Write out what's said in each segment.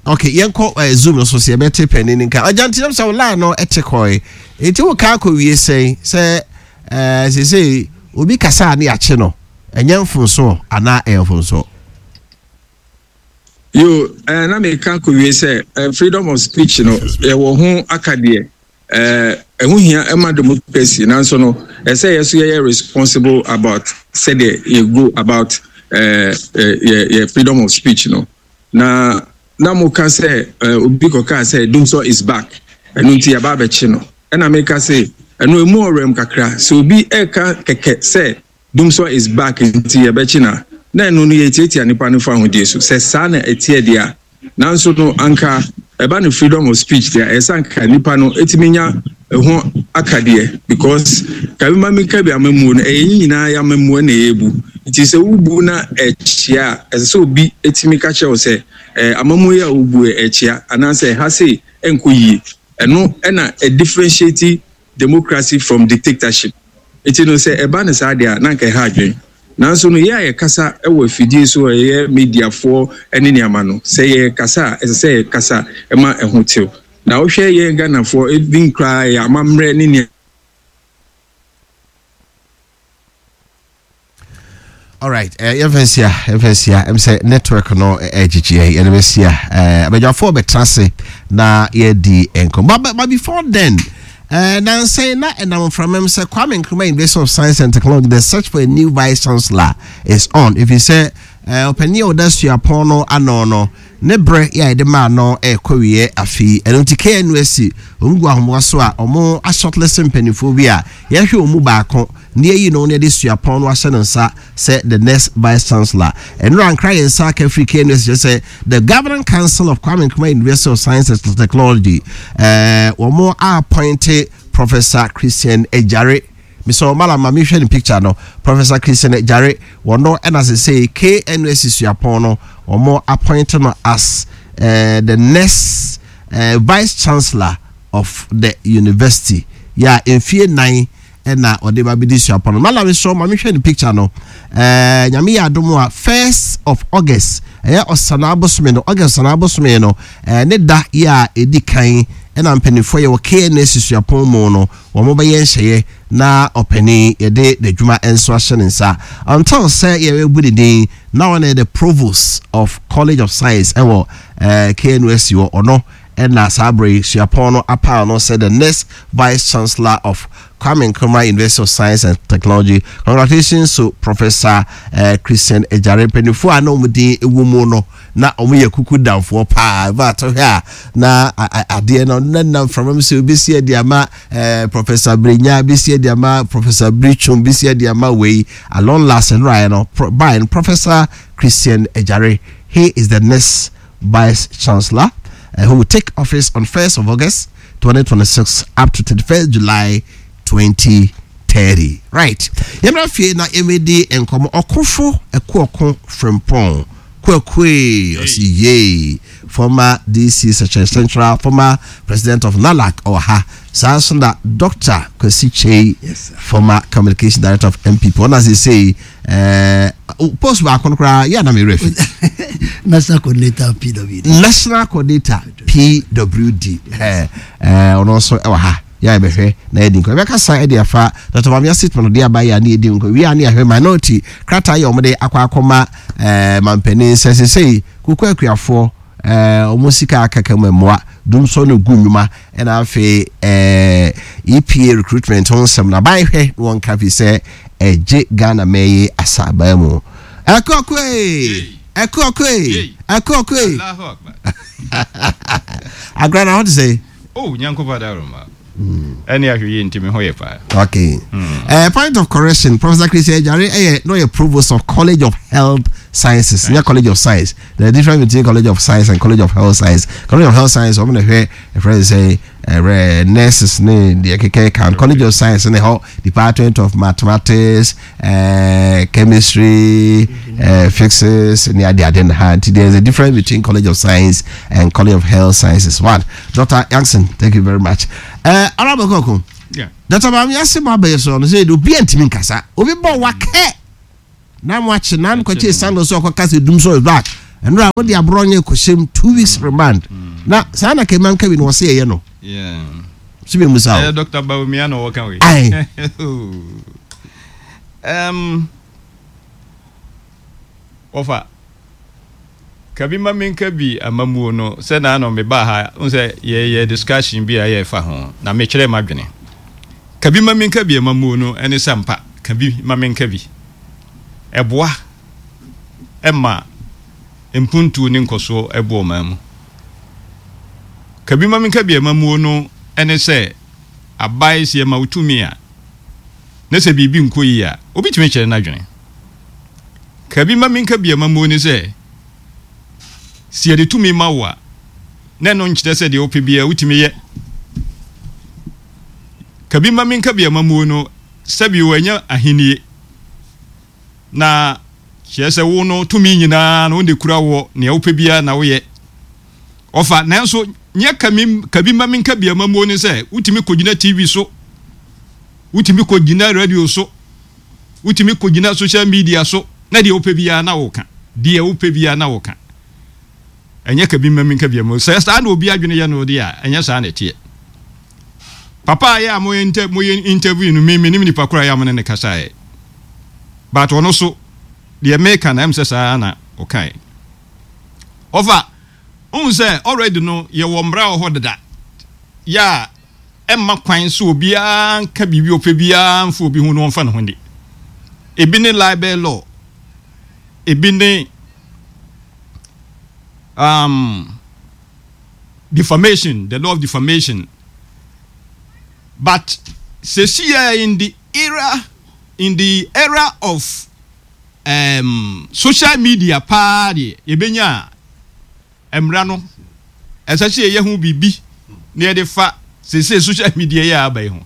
Okay, yɛnkɔ Zoom no so sɛ yɛbɛte panin no nka. Agya nti nam sɛ wo line no ɛte kɔe. Nti wo ka akɔwie sɛn sɛ eh, seesei obi kasa a ne yɛakye no, ɛnyɛ mfomsoɔ anaa ɛyɛ mfomsoɔ? Yo, eh, na meka akɔwie sɛ eh, freedom of speech no yɛwɔ ho akadeɛ. Eh, ɛho hia ɛma democracy nanso no ɛsɛ yɛ so yɛyɛ responsible about sɛdeɛ yɛ go about eh, eh, yɛ, yɛ freedom of speech no. Na na moka sɛ eh, obi kɔkaa sɛ Dumsor is back, ɛno nti yɛaba abɛkye no. Ɛna meka se ɛno emu ɔwerɛm kakra. Sɛ obi ɛka kɛkɛ sɛ Dumsor is back nti yɛbɛkye no a, na ɛno no yɛtiatia nipa no fahodie so. Sɛ saa na ɛteɛ deɛ a, nanso no anka ɛba no freedom of speech deɛ a, ɛsɛ anka nipa no ɛtumi nya ɛho akadeɛ because ka bi ma mi ka bi amammuo no ɛyɛ yɛn nyinaa yɛ amammuo na yɛrebu nti sɛ wobu na ɛkyea a ɛsɛ sɛ obi ɛtumi ka kyerɛ wo sɛ ɛɛ amammuo yi a wobu ɛkyea anaasɛ ɛha sei ɛnkɔ yie ɛno ɛna ɛdifferentiate democracy from dictatorship nti no sɛ ɛba no saa deɛ a na anka ɛha adwene nanso no yɛ a yɛkasa wɔ afidie so ɛyɛ mediafoɔ ne nneɛma no sɛ yɛkasa a ɛsɛ sɛ yɛkasa ma ɛho tew Na wohwɛ yɛn Ghanafoɔ even koraa yɛn amammerɛ ne nea. Alright, eh, yɛmfa nsia, yɛmfa nsia, ɛm sɛ network no ɛgyegye eh, yɛde bɛsia. Eh, abadwafoɔ bɛtena ase na yɛdi nkɔmmɔ. But, but before then, eh, nansɛn na ɛnam mframam sɛ Kwame Nkrumah University of Science and Technology, the search for a new vice chancellor is on. If you say, eh, ɔpanin a ɔda suapɔn no ano no, Ne berɛ yɛ a yɛde maa no rekɔ awieɛ afe yi. Ɛno nti KNUST wɔn gu ahoboa so a wɔn ashortlist mpanimfoɔ bi a yɛhwɛ wɔn mu baako na yɛayi no na yɛde suapɔn no ahyɛ ne nsa sɛ the next vice chancellor. Ɛnora nkra yɛn nsa aka firi KNUST kyerɛ sɛ the Governing Council of Kwame Nkrumah University of Science and Technology eh, wɔn appointe Professor Christian Ejare. Mesɛ ɔmala ma mehwɛ ne picture no Professor Christian Agyare wɔno ɛna sesei KNUST suapɔn no wɔn appoint no as uh, the next uh, vice chancellor of the university yɛ a mfie nan ɛna ɔde ba bɛdi suapɔn no mala mesɛ ɔma mehwɛ ne picture no uh, nyame yɛ adom a first of August ɛyɛ ɔsana abosome no August ɔsana abosome no uh, ne da yɛ a ɛdi kan ɛna mpanimfoɔ yɛ wɔ KNUST suapɔn mu no Wɔbɛyɛ nhyɛeɛ na ɔpanin yɛde n'adwuma nso ahyɛ ne nsa until sɛ yɛbɛbu ne din na ɔno yɛ the provost of college of science ɛwɔ eh, KNUST hɔ ɔno ɛna saa berɛ yi suapɔn no apaw no sɛ the next vice chancellor of Kwame Nkrumah University of Science and Technology. Congratulations to Professor eh, Christian Ejare mpanimfoɔ a na wɔn din wɔ mu no na wɔn yɛ kuku damfoɔ paa ɛba atɔhwɛ a na adeɛ no na nam mframa mu sɛ obɛsi adi ama eh, Professor Brenya bɛsi adi ama Professor Britwum bɛsi adi ama wei along last nraeɛ no pro, by no Professor Christian Ejare he is the next Vice Chancellor uh, who will take office on 1st of August 2026 up to 31st July 2030 right yɛmmra fie na yɛmmɛdi nkɔmmɔ ɔkofo ɛkoɔko frempɔn Kwakue ɔsi yay former DC Sekyere Central former president of NALAC ɔwɔ ha saa nso na Doctor Kwasi Kyei former communication director of NPP ɔna sesei ɛɛ post baako no koraa yɛ anam ewura fi. National coordinator PWD. National coordinator PWD ɛɛ ɔno nso ɛwɔ ha. Yɛ a yɛbɛhwɛ na yɛadi nkɔmmɔ. Yɛbɛkasa de afa Dɔkta Bawumia statement ɔde aba yɛ a ne yɛdi nkɔmmɔ. Wie a ne yɛahwɛ minority krataa yɛ wɔde akɔ akɔma ɛɛ mampanin sɛ sesei koko akuafoɔ ɛɛ wɔn sika akaka mu mmoa dumsɔ no gu nnwuma ɛna afei ɛɛ EPA recruitment ho nsɛm na aban hwɛ na wɔn ka fi sɛ ɛgye Ghana mɛyi asabaa mu. Ɛkɔkɔe ɛkɔkɔe ɛkɔkɔe. Agora na ho te sɛ. Oh, Nyankopɔn adaworoma. Ɛne ahwɛ yie nti me ho yɛ paa. Okay. Point of correction, Professor Christian Ejare ɛyɛ no yɛ provost of College of Health Sciences, nyɛ College of Science. There is a difference between College of Science and College of Health Science. College of Health Science wɔn na hwɛ ɛfrɛ sɛ ɛrɛ nurses ne deɛ kɛkɛ kan. College of Science ne hɔ Department of Mathematics, chemistry, physics ne ade ade na ha. Nti there is a difference between College of Science and College of Health Sciences. One. Dr. Youngson, thank you very much. Honorable Koko, yeah. Dr. Bami ase ma bɛyɛ so no sɛ obi antumi nkasa. Obi bɔ wakɛ. Na mo akye na nkɔkye sandal so ɔkɔka sɛ dum so is back. Ɛnora wode Abronye kɔhyɛm 2 weeks remand. Na saa na Kema Nkabi no wɔse yɛyɛ no. So mi musa o. Ɛyɛ Dr. Bawumia na ɔwɔ ka wei. Aye. Wɔfa kabi ma menka bi amamuo no sɛ na ano mebaa ha n sɛ yɛyɛ discussion bi a yɛfa ho na mekyerɛ m'adwene. Kabi ma menka bi amamuo no ɛne sɛ mpa kabi ma menka bi. Ɛboa ɛma mpuntuo ne nkɔsoɔ ɛbɔ ɔman mu. Kabi ma menka bi amamuo no ɛne sɛ abae sɛ yɛma wo tumi a na sɛ biribi nkɔ yie a, obi tumi kyerɛ n'adwene. Kabi ma menka bi amammuo ne sɛ, sɛ yɛde tumi ma wo a, na ɛno nkyerɛ sɛ deɛ wopɛ biara wotumi yɛ. Kabi ma menka bi amammuo no, sɛbi wɔanya ahennie, na kyerɛ sɛ wo no tumi nyinaa no wo na ekura woɔ, nea wopɛ biara na woyɛ. Ɔfa, nanso nyɛ kabi ma menka bi amammuo ne sɛ wotumi kɔgyina TV so, wotumi kɔgyina radio so, wotumi kɔgyina social media so na deɛ wopɛ biara na woka, deɛ wopɛ biara na woka. Ɛnyɛ kabi ma menka bi amammuo. Sɛ saa na obi adwene yɛ no deɛ a, ɛnyɛ saa na ɛteɛ. Papa a yɛ a moyɛ interview no, me menim nipa koraa yɛ a mo ne no kasaeɛ. But ɔno so, deɛ meka no, ɛm sɛ saa na ɔkae. Ɔfa, wohu sɛ already no yɛwɔ mmara wɔ hɔ deda yɛ a ɛmma kwan sɛ obiara nka biribi ɔpɛ biara mfa obi ho na ɔmfa ne ho nni. Ebi ne libel law, ebi ne defamation, the law of defamation. But sɛsi in the era of social media paa deɛ, yɛbɛnya a mmara no ɛsɛ sɛ yɛyɛ ho biribi na yɛde fa seesei social media yi a aba yi ho.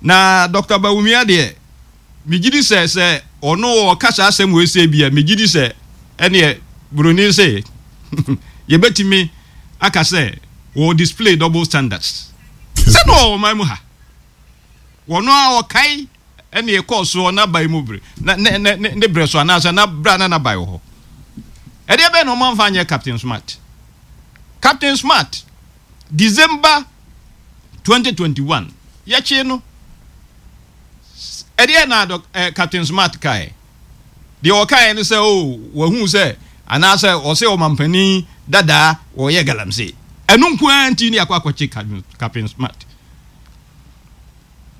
Na Dr. Bawumia deɛ, megye di sɛ sɛ ɔno ɔka saa asɛm wei sɛ bi a, megye di sɛ ɛneɛ buroni sɛ yɛbɛtumi aka sɛ wɔ display double standards sɛ na ɔwɔ ɔman mu ha, wɔno a ɔkae ɛne ɛkɔɔ soɔ n'aban mu bere na ne ne ne ne berɛ so anaasɛ na berɛ a na n'aban wɔ hɔ. Ɛdeɛ bɛn na wɔamfa anyɛ Captain Smart? Captain Smart, December 2021, yɛkyee no. Ɛdeɛ na dɔ eh, Captain Smart kae. Deɛ ɔkaeɛ ne sɛ, oh, wahu sɛ anaasɛ ɔsɛ ɔmampanin dadaa wɔyɛ galamsey. Ɛno nko ara nti ne akɔ akɔkye Captain Smart.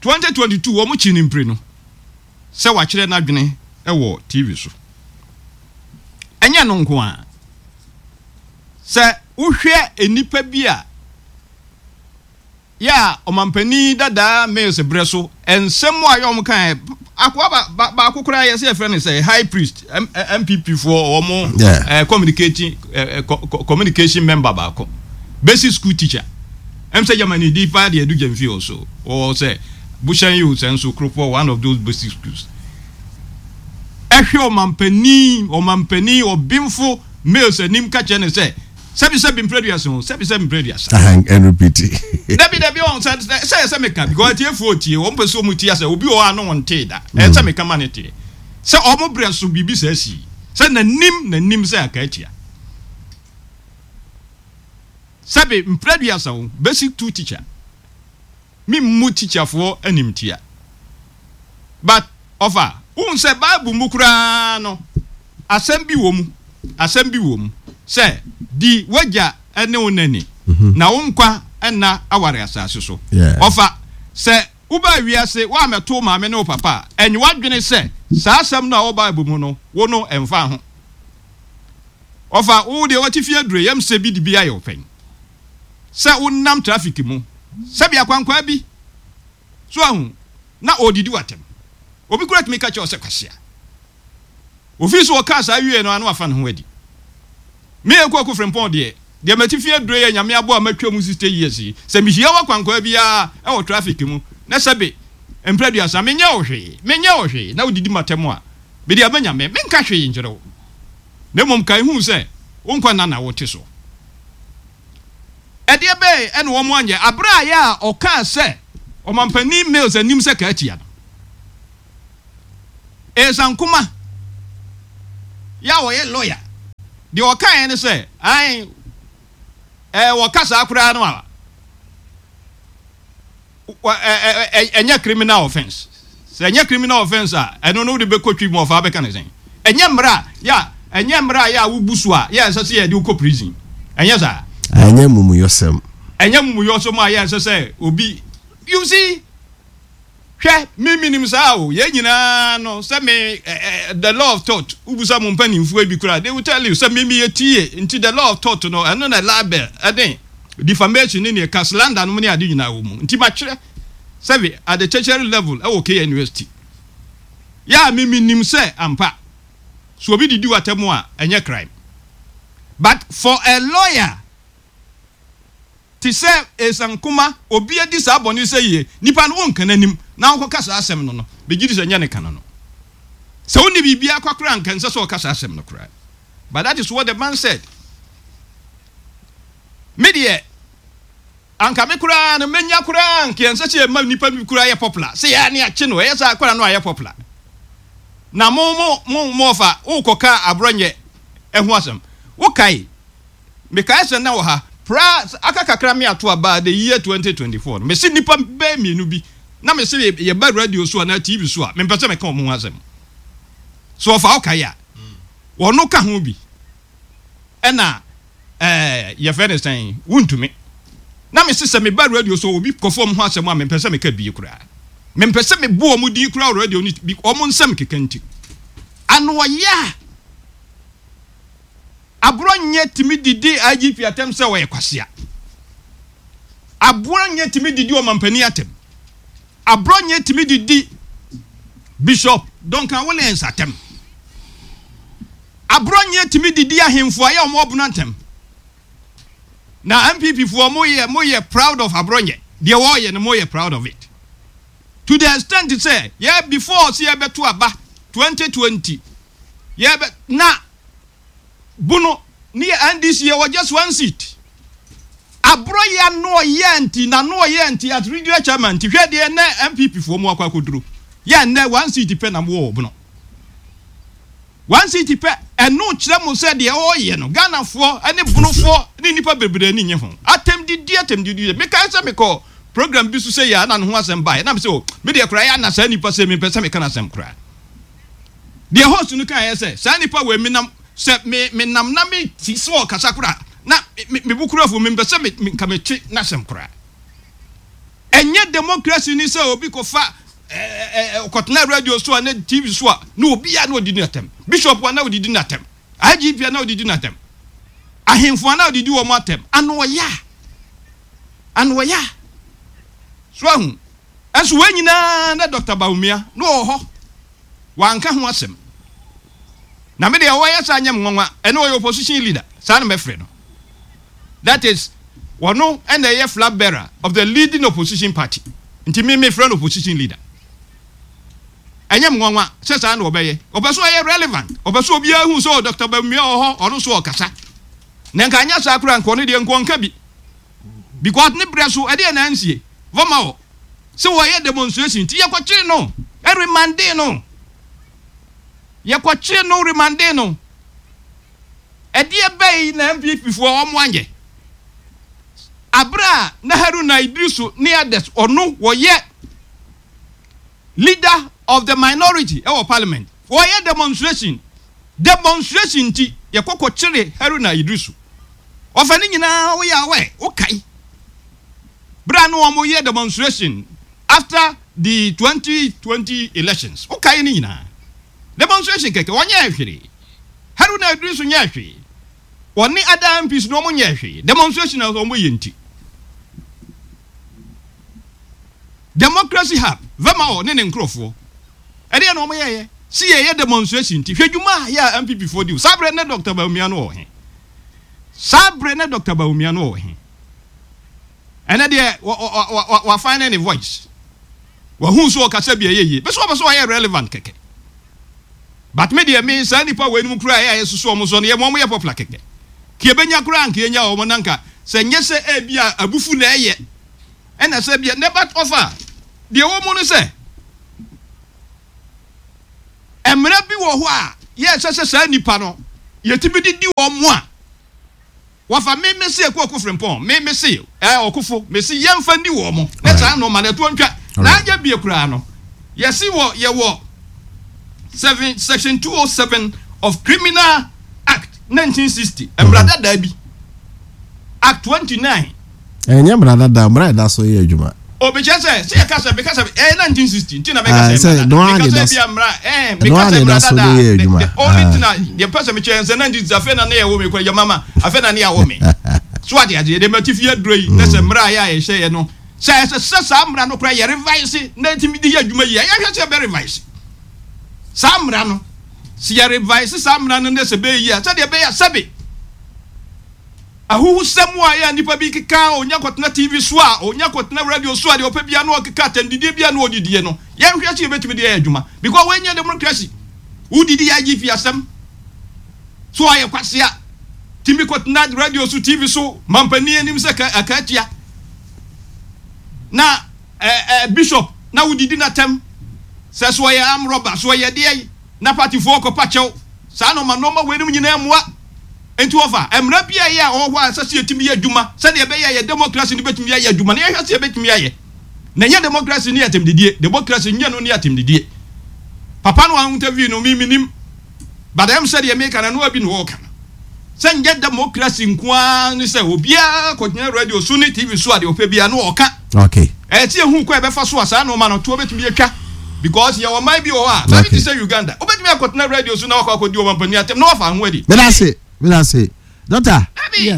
2022 wɔn kyi no mpire no sɛ wakyerɛ n'adwene wɔ TV so. Ɛnyɛ no nko ara. Sɛ wohwɛ nnipa bi a yɛ a ɔmampanin dadaa Mills berɛ so nsɛm a yɛ wɔn kaeɛ, akoa ba, ba, baako koraa yɛ sɛ yɛfrɛ no sɛ high priest MPP foɔ wɔn communicating communication member baako, basic school teacher. Ɛm sɛ Germany di paa deɛ ɛdu Gyamfi hɔ so wɔ sɛ Bushan yi o sɛ nso Kropɔ one of those basic schools. Ɛhwɛ ɔmampanin ɔmampanin ɔbenfo Mills anim ka kyerɛ no sɛ sɛbi sɛbi mprɛ duasa o sɛbi sɛbi mprɛ duasa. And repeat. Dabi dabi ɔn sɛ sɛ sɛ meka because atiefoɔ tie wɔn pɛ sɛ wɔn tie asɛ obi wɔ hɔ a no wɔn tee da ɛsɛ sɛ meka ma ne teɛ sɛ wɔn brɛ so biribi sɛ asi sɛ n'anim n'anim sɛ aka atia. Sɛbe mprɛ aduasa o, basic two teacher. Me mmu teacher foɔ animtia. But ɔfa, wohu sɛ bible mu koraa no, asɛm bi wɔ mu, asɛm bi wɔ mu sɛ, di w'agya ne wo na ni, na wo nkwa nna aware asase so. Ɔfa, sɛ wobaa wiase woammɛto wo maame ne wo papa a, ɛnyɛ w'adwene sɛ saa asɛm no a ɛwɔ bible mu no, wo no ɛmfa ho. Ɔfa wo deɛ w'atifi aduro yam sɛ bi de bi ayɛ wo pɛn sɛ wo nam traffic mu sɛbi akwankwaa bi so ahu na ɔredidi w'atɛm obi koraa tumi ka kyerɛ wo sɛ kwasea ofii so ɔkaa saa wie no ano afa ne ho adi me Akuaku Frimpong deɛ deɛ m'atifi aduro yɛ nyame aboa matwa mu 60 years yi sɛ mehyia wo akwankwaa biara ɛwɔ traffic mu na sɛbe mprɛ aduasa menyɛ wo hwee menyɛ wo hwee na wodidi m'atɛm a mede ama nyame menka hwee nkyerɛ wo. Na mmom kae hu sɛ wo nkwa nna na wote so. Ɛdeɛ bɛn na wɔn anyɛ aberɛ a yɛ a ɔkaa sɛ Ɔmampanin Mills anim sɛ kaa tia no? Esa Nkomah, Yɛ a ɔyɛ lawyer. Deɛ ɔkaeɛ ne sɛ, ae, ɛɛ wɔka saa koraa no a, ɛnyɛ criminal offence. Sɛ ɛnyɛ criminal offence a, ɛno no wode bɛkɔ twi mu ɔfa bɛka ne sɛn? Ɛnyɛ mmara a yɛ a ɛnyɛ mmara a yɛ a wobu so a yɛ a ɛsɛ sɛ yɛde wokɔ prison. Ɛnyɛ saa. Ɛnyɛ mumuyɔsɛm. Ɛnyɛ mumuyɔsɛm a yɛ a ɛsɛ sɛ obi you see. Hwɛ, me menim saa o, yɛn nyinaa no, sɛ me eh, eh, the law of tort, wobisa mo mpanimfoɔ bi koraa, they will tell you sɛ me meyɛ tie, nti the law of tort no, ɛno na libel, ɛne defamation ne neɛ ka slander nom ne ade nyinaa wɔ mu. Nti matwerɛ sɛbe at the tertiary level ɛwɔ KNUST. Yɛ a me menim sɛ ampa, so obi didi w'atɛm a, ɛnyɛ crime. But for a lawyer, Te sɛ esiankoma, obi adi saa bɔne yi sɛ yie, nipa no wonka n'anim na wonkɔka saa asɛm no no, megye di sɛ ɛnyɛ ne ka no no. Sɛ wonni biribiara kwa koraa a, anka ɛnsɛ sɛ ɔka saa asɛm no koraa. But that is what the man said. Me deɛ, anka me koraa no, menya koraa anka ɛnsɛ sɛ yɛma nipa bi koraa yɛ popular. Sɛ yɛa ne akye no, ɛyɛ saa koraa no ayɛ popular. Na mo mo mo mo ɔfa, wokɔka aborɔnyɛ ɛho asɛm. Wokae Mekae sɛ na wɔ ha pra aka kakra me ato aba the year 2024 no, mese nnipa bɛyɛ mmienu bi na mese yɛba radio so anaa TV so a mempɛ sɛ meka wɔn ho asɛm. So ɔfa wokae a wɔno ka ho bi ɛna ɛɛ yɛfrɛ no sɛn wontumi. Na mese sɛ meba radio so obi kɔfa wɔn ho asɛm a mempɛ sɛ meka bie koraa. Mempɛ sɛ mebo wɔn din koraa wɔ radio no bi wɔn nsɛm keka nti. Ano ɔyɛ a Aborɔnyɛ tumi didi IGP atɛm sɛ ɔyɛ kwasea. Aborɔnyɛ tumi didi ɔmampanin atɛm. Aborɔnyɛ tumi didi Bishop Duncan Williams atɛm. Aborɔnyɛ tumi didi ahemfo a yɛ wɔn ɔbono atɛm. Na NPP foɔ mo yɛ mo yɛ proud of Aborɔnyɛ. Deɛ wɔyɛ no mo yɛ proud of it. To the extent sɛ yɛ before sɛ yɛbɛto aba 2020 yɛbɛ na Bono ne yɛ NDC yɛ wɔ just one seat. Aborɔ yɛ ano ɔyɛ nti na ano ɔyɛ nti as regional chairman nti hwɛ deɛ nɛ NPP foɔ mu akɔ akɔduro. Yɛ nnɛ one seat pɛ na mo wɔ Bono. One seat pɛ ɛno kyerɛ mo sɛ deɛ ɔyɛ no Ghana foɔ ɛne Bono foɔ ne nnipa bebree ani nye ho. Atɛm didi atɛm didi mekae sɛ mekɔ program bi so sɛ yɛ a na ne ho asɛm baeɛ na me sɛ o me deɛ koraa yɛ ana saa nipa sɛ mempɛ sɛ meka n'asɛm koraa. Deɛ host no kaeɛ sɛ, saa nipa wei menam sɛ me menam na me ti sɛ ɔkasa koraa na me me bo kura afu mempɛ sɛ me me nka mete n'asɛm koraa. Ɛnyɛ democracy ni sɛ obi kɔfa ɛɛ ɔkɔtena radio so a ne TV so a na obi a na ɔdidi n'atɛm. Bishop a na ɔdidi n'atɛm. IGP a na ɔdidi n'atɛm. Ahemfo a na ɔdidi wɔn atɛm. Ano ɔya. Ano ɔya. So ahu. Nso wei nyinaa na Doctor Bawumia na ɔwɔ hɔ. Wanka ho asɛm. Na me deɛ ɔyɛ saa nyɛ me nwanwa. Ɛno ɔyɛ opposition leader. Saa na mɛfrɛ no. That is, ɔno na ɛyɛ flag bearer of the leading opposition party. Nti me mefrɛ no opposition leader. Ɛnyɛ me nwanwa sɛ saa na ɔbɛyɛ. Ɔpɛ sɛ ɔyɛ relevant. Ɔpɛ sɛ obiara hu sɛ oh, Doctor Bawumia wɔ hɔ, ɔno nso ɔkasa. Na nka anyɛ saa koraa nka ɔno deɛ nka ɔnka bi. Because ne berɛ so ɛdeɛ na ansie. Vɔma wɔ. Sɛ wɔyɛ demonstration nti yɛkɔkyere no remande no. Yɛkɔkyere no remande no. Ɛdeɛ bɛyi na NPP foɔ wɔn anyɛ. Abere a na Haruna Iddrisu ne others ɔno wɔyɛ leader of the minority ɛwɔ parliament wɔyɛ demonstration demonstration nti yɛkɔ kɔkyere Haruna Iddrisu. Ɔfa ne nyinaa woyɛ aware wokae. Bere a na wɔyɛ demonstration after the 2020 elections, wokae ne nyinaa. Demonstration kɛkɛ, wɔnyɛɛ hwee. Haruna Iddrisu nyɛɛ hwee. Wɔne other MPs no wɔnyɛɛ hwee. Demonstration a wɔyɛ nti. Democracy Hub, Vemawɔ ne ne nkurɔfoɔ, ɛdeɛ na wɔyɛeɛ. Si yɛyɛ demonstration nti, hwɛ dwuma a yɛ a MPP foɔ di. Saa berɛ ne Dr. Bawumia no wɔ he? Saa berɛ ne Dr. Bawumia no wɔ he? Ɛnɛ deɛ wa find ne voice. Wahu so ɔkasa bi ɛyɛ yie. Bɛsɛ ɔbɛ so ɔyɛ relevant kɛkɛ. But me deɛ me saa nipa wei nom kura ɛyɛ soso ɔmo so no yɛ mo ɔmo yɛ popular kɛkɛ. Kì ebenya kura nka yɛnya ɔmo na nka sɛ nyɛ sɛ ebi a abufu na ɛyɛ ɛna sɛ bia ne but ɔfa deɛ wɔ mu no sɛ mmerɛ bi wɔ hɔ a. yɛ ɛsɛ sɛ saa nnipa no yɛtumi de di wɔn a, wɔfa me me se Akuoko Frimpong, me me se ɛɛ Ɔkofo, me se yɛmfa nni wɔn na saa nnoɔma no ɛtoɔ ntwa. Na anyɛ bie koraa no, yɛse wɔ yɛwɔ seven section 207 of Criminal Act 1960, mmara dadaa bi, Act 29. Ɛnyɛ mmara dada, mmara a ɛda so yɛ adwuma. O mekyerɛ sɛ, sɛ yɛka sɛ, meka sɛ, ɛyɛ 1960 nti na meka sɛ mmara dada. Meka sɛ ebia mmara, ɛɛ, meka sɛ mmara dada a, the, the only thing a, deɛ mpɛ sɛ mekyerɛ sɛ 1960 afei na ne yɛwo me kora, yɛ mama, afei na ne yɛawo me. So ate aseɛ, deɛ mate fie aduro yi, na sɛ mmara a yɛ a yɛhyɛ yɛ no, sɛ ɛsɛ sɛ saa mmara no kora yɛ revise na ɛtumi de yɛ adwuma yie a, yɛhwɛ sɛ yɛbɛ revise saa mmara no. Sɛ yɛ revise saa mmara no na sɛ ɛbɛyɛ yie a, sɛdeɛ ɛbɛyɛ a sɛbe Ahuhusɛm a ɛyɛ a nnipa bi keka a ɔnya kɔtena TV so a ɔnya kɔtena radio so a deɛ ɔpɛ biara na ɔkeka atɛmdidie biara na ɔdidie no, yɛnhwɛ sɛ yɛbɛtumi de ayɛ adwuma because wei nyɛ democracy. Wodidi IGP asɛm so ayɛ kwasea tumi kɔtena radio so TV so mampanin anim sɛ ka akaatia na eh, eh, bishop na wodidi n'atɛm sɛ so ɔyɛ arm robber so ɔyɛ deɛ na partyfoɔ kɔpa kyɛw saa nɔɔma nɔɔma weinom nyinaa mmoa. Enti wɔfa mmara bi a ɛyɛ a ɛwɔ hɔ a ɛsɛ sɛ yɛtumi yɛ adwuma sɛdeɛ ɛbɛyɛ a yɛn demokrasi no bɛtumi ayɛ adwuma na yɛhwɛ sɛ yɛbɛtumi ayɛ. Na ɛnyɛ demokrasi ne atɛmdidie. Demokrasi nyɛ no ne atɛmdidie. Papa no a interview no me menim but ɛm sɛ deɛ meka no ɛno ara bi na ɔreka no. Sɛ nyɛ demokrasi nko ara ne sɛ obiara kɔgyina radio so ne TV so a deɛ ɔpɛ biara no ɔka. Okay. Ɛyɛ sɛ yɛhu kwan a ɛbɛfa so a saa nnoɔma no toɔ bɛtumi atwa because yɛwɔ ɔman bi wɔ hɔ a baabi te sɛ Uganda wobɛtumi akɔtena radio so na wakɔ akɔdi ɔmampanin atɛm na wafa ho adi. Meda ase, meda ase. Doctor,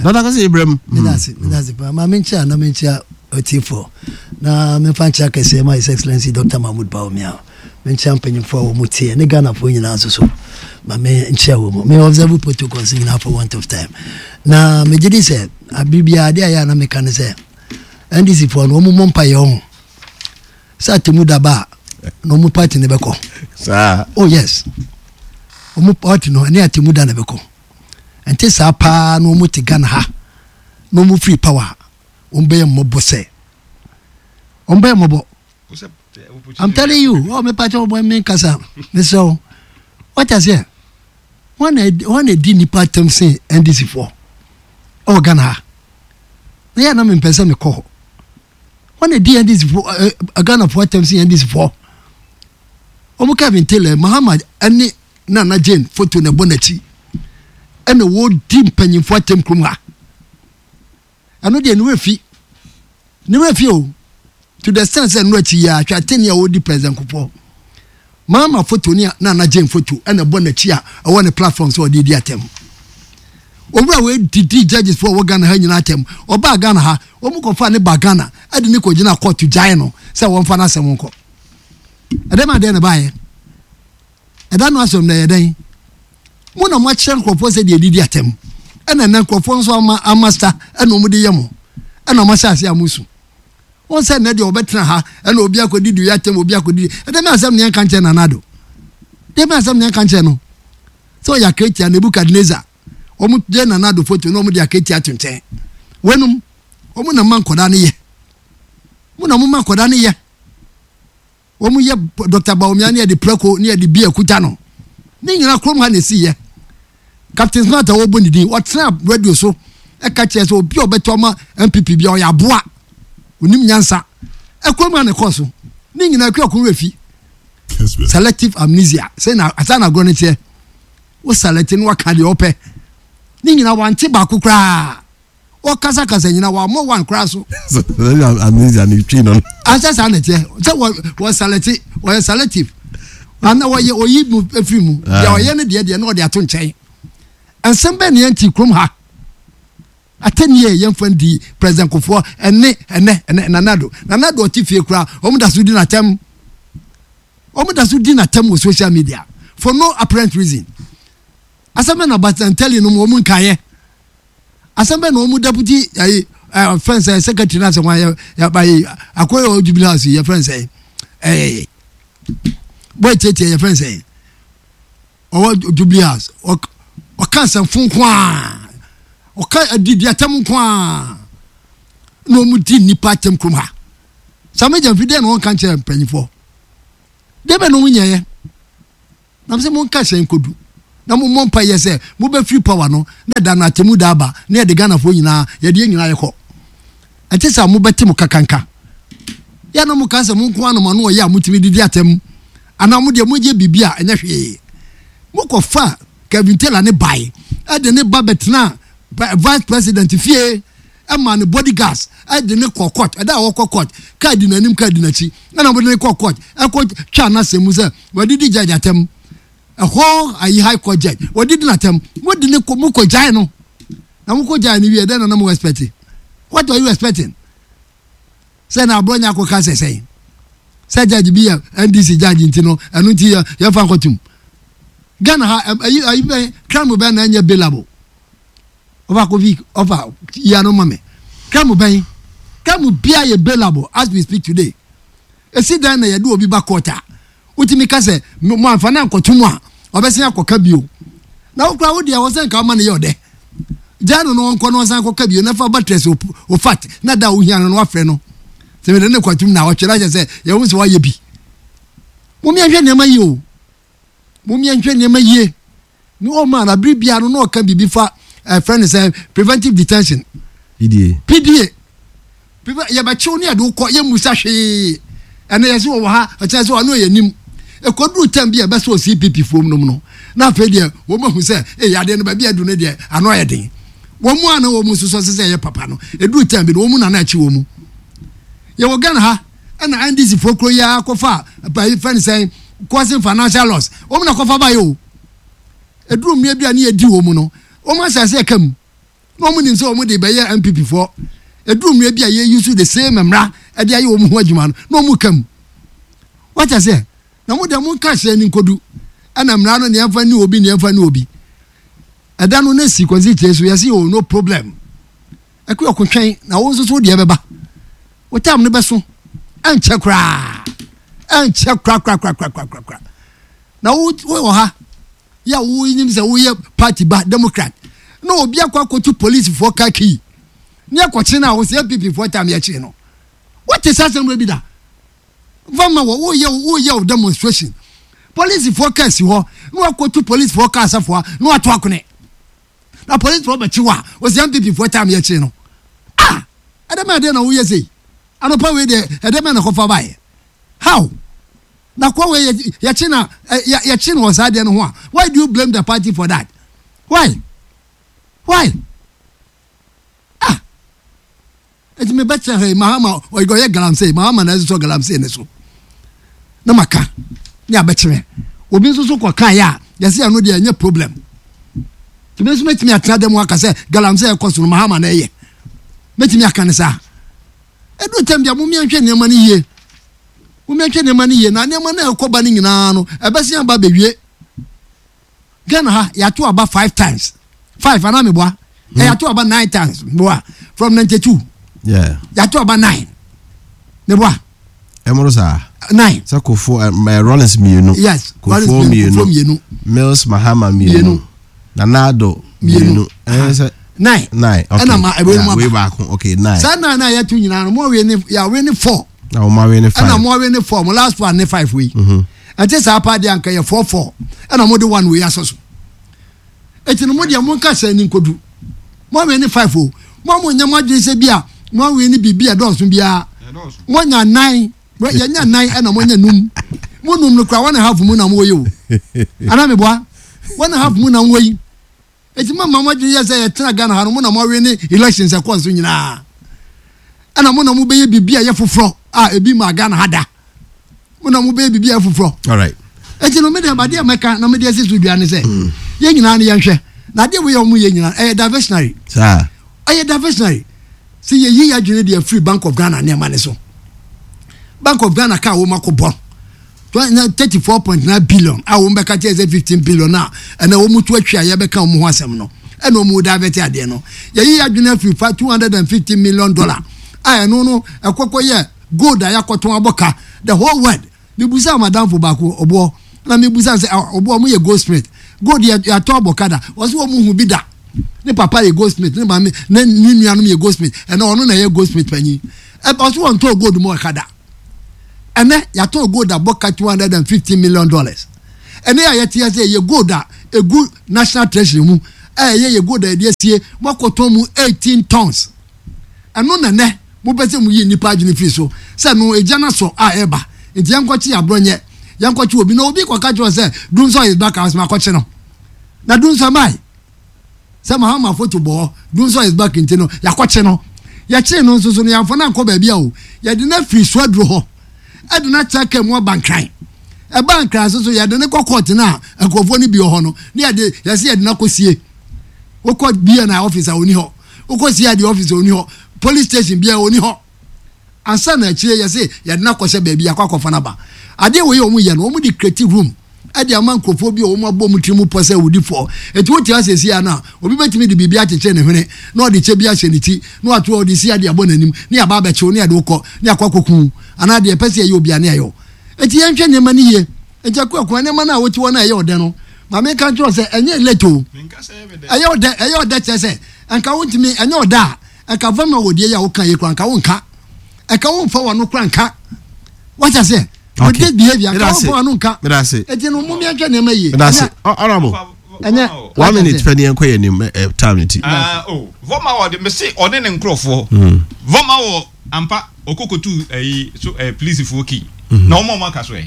Doctor Kwesi Ibrahim. Meda ase, meda ase paa. Ma menkyia na menkyia ɔtiefoɔ na memfa nkyia kɛseɛ ma His Excellency Doctor Mahmoud Bawumia. Menkyia mpanyinfoɔ a wɔn teɛ ne Ghanafoɔ nyinaa nso so. Ma menkyia wɔn mu. Me observe protocols nyinaa for want of time. Na megye di sɛ abere biara adeɛ a ɛyɛ a na meka ne sɛ NDC foɔ no wɔn mmɔ mpaeɛ ɔho sɛ atemu da ba a na wɔn party no bɛkɔ. Saa. Oh yes. Wɔn party no ɛne atemu da na bɛkɔ. Ɛnte saa paa na wɔn te Ghana ha na wɔn free power wɔn bɛyɛ mmɔbɔ sɛ wɔn bɛyɛ mmɔbɔ. I'm telling you, oh me party wɔn mi nkasa mesrɛ wo. What I say? Wɔn na wɔn na di nipa atɛm sen NDC foɔ ɛwɔ Ghana ha. Na yɛ na mempɛ sɛ mekɔ hɔ. Wɔn na di NDC fo ɛ ɛ Ghana fo atɛm si NDC fo. Wɔn Kevin Taylor Mahama ɛne Nana Jane foto na ɛbɔ n'akyi. Ɛna wɔdi mpanyinfo atɛm kurom ha. Ɛno deɛ ne werɛ fi. Ne werɛ fi o. To the extent sɛ ɛno akyi yi a hwɛ atɛnni a wɔdi President Kufuor. Mahama foto ne Nana Jane foto ɛna ɛbɔ n'akyi a ɛwɔ ne platform sɛ ɔde di atɛm. Owura wei didi judges foɔ wɔ Ghana ha nyinaa atɛm. Ɔbaa Ghana ha, wɔn kɔfa ne ba Ghana ɛde ne kɔgyina court gyae no sɛ wɔmfa n'asɛm nkɔ. Ɛdɛm adeɛ na ɛbaeɛ. Ɛda no asɛm na ɛyɛ dɛn? Mo na moakyerɛ nkurɔfoɔ sɛ deɛ ɛdidi atɛm. Ɛna ɛnɛ nkurɔfoɔ nso ama ama sa ɛna wɔn de yɛ mo. Ɛna wɔn ahyɛ ase a mo su. Wɔn sɛ nnɛ deɛ wɔbɛtena ha ɛna obi akɔdi dua atɛm obi akɔdi ɛdɛ mɛ asɛm neɛ nka nkyɛn Nana Addo. Deɛ mɛ asɛm neɛ nka nkyɛn no. Sɛ ɔyɛ akatia Nebukadnezar. Wɔn gye Nana Addo foto na wɔn de akatia ato nkyɛn. Wɔnum wɔn na mma nkɔdaa no yɛ. Mo na mo ma nkɔdaa no yɛ. Wɔn yɛ Dr. Bawumia ne yɛde prako ne yɛde bia kuta no. Ne nyinaa kurom ha na esi yɛ. Captain Smart a wɔbɔ ne din, ɔtena radio so ɛka kyerɛ sɛ obi a ɔbɛtɔ ama NPP bia ɔyɛ aboa. Onim nyansa. Ɛkurom ha na ɛkɔɔ so. Ne nyinaa kura kɔn werɛ fi. Selective amnesia. Sɛ na asa na agorɔ no teɛ. Wo select no waka deɛ ɔpɛ. Ne nyinaa wante baako koraa. Wɔkasakasa nyina wɔammɔ one koraa so. Amnesia ne twi no. Asɛ saa na ɛteɛ sɛ wɔ wɔ salɛte wɔyɛ selective ana wɔyɛ oyi mu efiri mu ah. deɛ ɔyɛ no deɛ deɛ na ɔde ato nkyɛn nsɛm bɛn ne yɛn ti kurom ha atɛnie yɛn fɛn di president Kufuor ɛne ɛnɛ ɛnɛ nanado nanado ɔte fie koraa wɔn da so di n'atɛm wɔn da so di n'atɛm wɔ social media for no apparent reason asɛm bɛn na batantɛli no wɔn nkaeɛ. Asɛm bɛn na wɔn deputy ayi ɛ fɛn sɛ secretary na sɛ wɔn ayɛ yaba yi akɔyɛ wɔ jubilee house yɛ fɛn sɛ ɛɛ bɔyɛ tietie yɛ fɛn sɛ ɔwɔ jubilee house ɔka asɛmfo nko a ɔka adidi atɛm nko a na wɔn di nipa atɛm kurom ha sami gyamfi deɛ na wɔn ka nkyɛn mpanyinfoɔ deɛ bɛ na wɔn nyɛɛ. Na mese monka hyɛn nkodu. Na mo mmɔ mpaeɛ sɛ mo bɛ firi power no na ɛda no atemu da aba na yɛde Ghanafoɔ nyinaa yɛde yɛn nyinaa yɛkɔ. Ɛnte saa mo bɛte mo kakanka. Yɛ na mo ka sɛ mo nko ara na mo ano ɔyɛ a motumi didi atɛm anaa mo deɛ mo yɛ biribi a ɛnyɛ hwee. Mo kɔ fa Kevin Taylor ne bae ɛde ne ba bɛtena vice president fie ɛma ne body guards ɛde ne kɔ court ɛda a wɔkɔ court kaa di n'anim kaa di n'akyi ɛna wɔde ne kɔ court ɛkɔ twa n'asɛm mu sɛ wɔde di judge atɛm. Ɛhɔ ayi high court judge wɔde di n'atɛm mo de ne kɔ mo kɔ gyae no na mo kɔ gyae no wie dɛn na na mo expect what are you expecting sɛ na aborɔ nya akɔka sɛ sɛn sɛ judge bi yɛ ndc judge nti no ɛno nti yɛ yɛfa nkɔtum Ghana ha ayi ayi bɛn crime bɛn na ɛnyɛ bailable ɔfa kofi ɔfa yia no ma me crime bɛn crime bia yɛ bailable as we speak today esi dan na yɛde obi ba court a Wotumi ka sɛ, Moamfa no ankɔto mu a, ɔbɛsan akɔka bio. Na wo koraa wo deɛ, ɛwɔ sɛ nka woma no yɛ ɔdɛ. Gyaa no na ɔnkɔ na ɔnsan nkɔka bio na fa buttress wo fat na da a wohia no no wafrɛ no. Sɛ mede no kɔtom na ɔtwe na kyerɛ sɛ yɛhu sɛ wayɛ bi. Mommyɛnhwɛ nneɛma yie o. Mommyɛnhwɛ nneɛma yie. Ne ɔma na bere biara no na ɔka biribi fa ɛfrɛ no sɛ preventive detention. PDA. PDA. Yɛbɛkyew ne yɛde wokɔ yɛmmusa hwee. Ɛnɛ yɛsɛ wɔwɔ ha ɔkyerɛ sɛ ɔno yɛ nim. Ɛkɔduru tɛm bi a ɛbɛsɛ CPP foɔ nom no na afei deɛ wɔn ahu sɛ ee adeɛ no baabi adu no deɛ ano ayɛ den. Wɔn mu a na wɔn nso sɛ sɛ ɛyɛ papa no ɛduru tɛm bi no wɔn mu na na akyi wɔn mu. Yɛwɔ Ghana ha ɛna NDC foɔ kuro yi ara kɔfa fɛn sɛn causing financial loss wɔn na kɔfa ba yɛ o. Ɛduru mmerɛ bi a ne yɛdi wɔn mu no, wɔn asase ɛka mu na wɔn nim sɛ wɔn de bɛyɛ NPP foɔ. Ɛduru mmerɛ bi a yɛ use the same mmara ɛde ayɛ wɔn ho adwuma no na wɔn ka mu. Wate aseɛ? Na mo deɛ mo nka hyɛn ni nkodu ɛna mmara no neɛ mfa ni obi neɛ mfa ni obi. Ɛda no na si kwansi kyerɛ so yɛsi oh no problem. Ɛkɔ ɔko twɛn na wo nso so deɛ bɛba. Wo tam no bɛso ɛnkyɛ koraa ɛnkyɛ koraa koraa koraa koraa koraa. Na wo wɔ ha yɛ a wonim sɛ woyɛ party ba democrat na obi akɔ akɔtu policefoɔ car key ne akɔkye no a wo sɛ npp foɔ tam yɛkye no wote saa asɛm wei bi da fa ma wɔ woyɛ woyɛ wo demonstration policefoɔ car si hɔ na wakɔtu policefoɔ car safoa na wato akone na policefoɔ bɛkye wo a wo sɛ npp foɔ tam yɛkye no ah ɛdɛm ɛdeɛ na woyɛ sei anɔpa wei deɛ ɛdɛm na kɔfa baeɛ how Na kɔ wei yɛkye na yɛkye no wɔ saa adeɛ no ho a why do you blame the party for that why why ah eti mi bɛ kyerɛ ha yi mahama ɔyɛ galamsey mahama na ɛsosɔ galamsey ne so na ma ka ne abɛkyerɛ obi nso so kɔ kan yɛ a yɛsɛ ɛno deɛ ɛnyɛ problem tumi nso mɛtumi atena dɛm aka sɛ galamsey ɛkɔ so no mahama na ɛyɛ mɛtumi aka ne saa ɛduru tɛm deɛ mo mmiɛnhwɛ nneɛma no yie. Mommɛhwɛ nneɛma no yie na nneɛma no a ɛkɔ ba no nyinaa no ɛbɛsen aba abɛwie. Ghana ha yɛato aba five times five anaa meboa hmm. yɛato aba nine times meboa from 92 yeah. yɛato aba nine meboa ɛmoro saa nine sɛ kofo eh, Rollins mmienu yes kofo mmienu Mills Mahama mmienu Nana Addo mmienu ɛyɛ nine nine okay ɛna ma ɛwɛ mu aba baako okay nine saa nine na yɛto nyinaa no mo awie ne yɛawe ne four na wɔn awe ne five ɛna mo awe ne four mo last one ne five wei mhm. ɛte saa paa deɛ anka yɛ four four ɛna mo de one wei asɔ so eti no mo deɛ mo nka sɛ ne nkodu mo awe ne five o mo a mo nyɛ mo adwene sɛ bi a mo awe ne biribi a ɛdɔɔso biara mo nya nine. Yɛnya nan ɛna moanya num. Mo num no kora one and half mu na mowɔ yi o. Ana meboa? One and half mu na mowɔ yi. Eti mo ma mo adwene yɛ sɛ yɛtena Ghana ha no mo na moawe ne elections ɛkɔɔ so nyinaa. Ɛna mo na mobɛyɛ biribi a ɛyɛ foforɔ a ebi maa Ghana ha da. Mo na mobɛyɛ biribi a ɛyɛ foforɔ. All right. Eti no me deɛ adeɛ a mɛka na mede asi so dua ne sɛ mm. yɛn nyinaa no yɛnhwɛ. Na adeɛ wei a wɔn yɛ nyinaa ɛyɛ diversionary. Saa. Ɛyɛ diversionary. Sɛ yɛyi yɛn adwene deɛ firi Bank of Ghana nneɛma no so. Bank of Ghana kaa wɔn akɔbɔ 34.9 billion a wɔn bɛka kyerɛ sɛ 15 billion a ɛna wɔn to atwi a yɛbɛka wɔn ho asɛm no ɛna wɔn divert adeɛ no. Yɛyi yɛn adwene afiri fa 250 million dollar a ɛno no ɛkɔkɔ yɛ gold a yɛakɔtɔn abɔ ka the whole world. Mebusaa m'adamfo baako, ɔboɔ, na mebusaa sɛ, ah, ɔboɔ, ɔmo yɛ goldsmith. Gold yɛ yɛatɔ abɔ ka da. Ɔse wɔn hu bi da. Ne papa yɛ goldsmith, ne maame, ne ne nuanom yɛ goldsmith. Ɛnɛ ɔno na ɛyɛ goldsmith panyin. Ɛ ɔse wɔn tɔɔ gold mu ɔka da. Ɛnɛ yɛatɔn gold abɔ ka $250 million. Ɛnɛ a yɛte ase yɛ gold a egu National Treasury mu a ɛyɛ yɛ gold a yɛde asie, moakɔtɔn mu 18 tons. Ɛno na nnɛ mopɛ sɛ muyi nnipa adwene firi so sɛ no egya no asɔ a ɛreba nti yɛnkɔkye aborɔnyɛ, yɛnkɔkye obi na obi kɔka kyerɛ wo sɛ Dumsor is back a ɔsɛ makɔkye no. Na Dumsor mae sɛ Mahama foto bɔ hɔ, Dumsor is back nti no yɛakɔkye no. Yɛkyee no nso so no yɛamfa no ankɔ baabi a o, yɛde no afiri Suaduro hɔ ɛde no atra kaa mu aba Nkran. Ɛbaa Nkran nso so yɛde no kɔ kɔɔte no a nkurɔfoɔ no bi wɔ hɔ no na yɛde yɛsɛ yɛde no akɔsie. Wokɔ BNI office a ɔni hɔ. Wokɔ CID office a ɔni hɔ. Police station biara ɔni hɔ. Ansa na akyire yɛse yɛde no akɔhyɛ baabi akɔ akɔfa no aba. Adeɛ wei a wɔn yɛ no wɔn de create room ɛde ama nkurɔfoɔ bi a wɔn abɔ wɔn tiri mu pɔ sɛ awudifoɔ. Eti wote ase seesei ara no a, obi bɛtumi de biribi akyekyere ne hwene na ɔde kyɛ bi ahyɛ ne ti na wato ɔde CID abɔ n'anim na yɛaba abɛkye wo na yɛde wo kɔ na yɛakɔ akɔku wo anaa deɛ yɛpɛ sɛ yɛyɛ obiara na yɛayɛ wo. Eti yɛnhwɛ nneɛma no yie. Enti Akuakua, nneɛma no a wote hɔ no a ɛyɛ wo dɛ no, ma menka nkyerɛ wo sɛ ɛnyɛ late o. Ɛyɛ wo dɛ, ɛyɛ wo dɛ kyerɛ sɛ nka wontumi, ɛnyɛ wo dɛ a, nka vama wɔ deɛ yi a woka yi koraa nka wonka. Nka womfa w'ano koraa nka. Wate aseɛ? With this behavior, nka womfa w'ano nka. Enti no, mom yɛnhwɛ nneɛma yie. Medase. Honorable. Ɛnyɛ. One minute pɛ ne yɛnkɔ yɛn anim eh, time no ti. Ah, oh, vɔma wɔ de, mese ɔne ne nkurɔfoɔ. Vɔma wɔ Ampa ɔkɔ kotuu ɛyi so ɛɛ polisifoɔ kii na wɔn a wɔn aka so ɛ.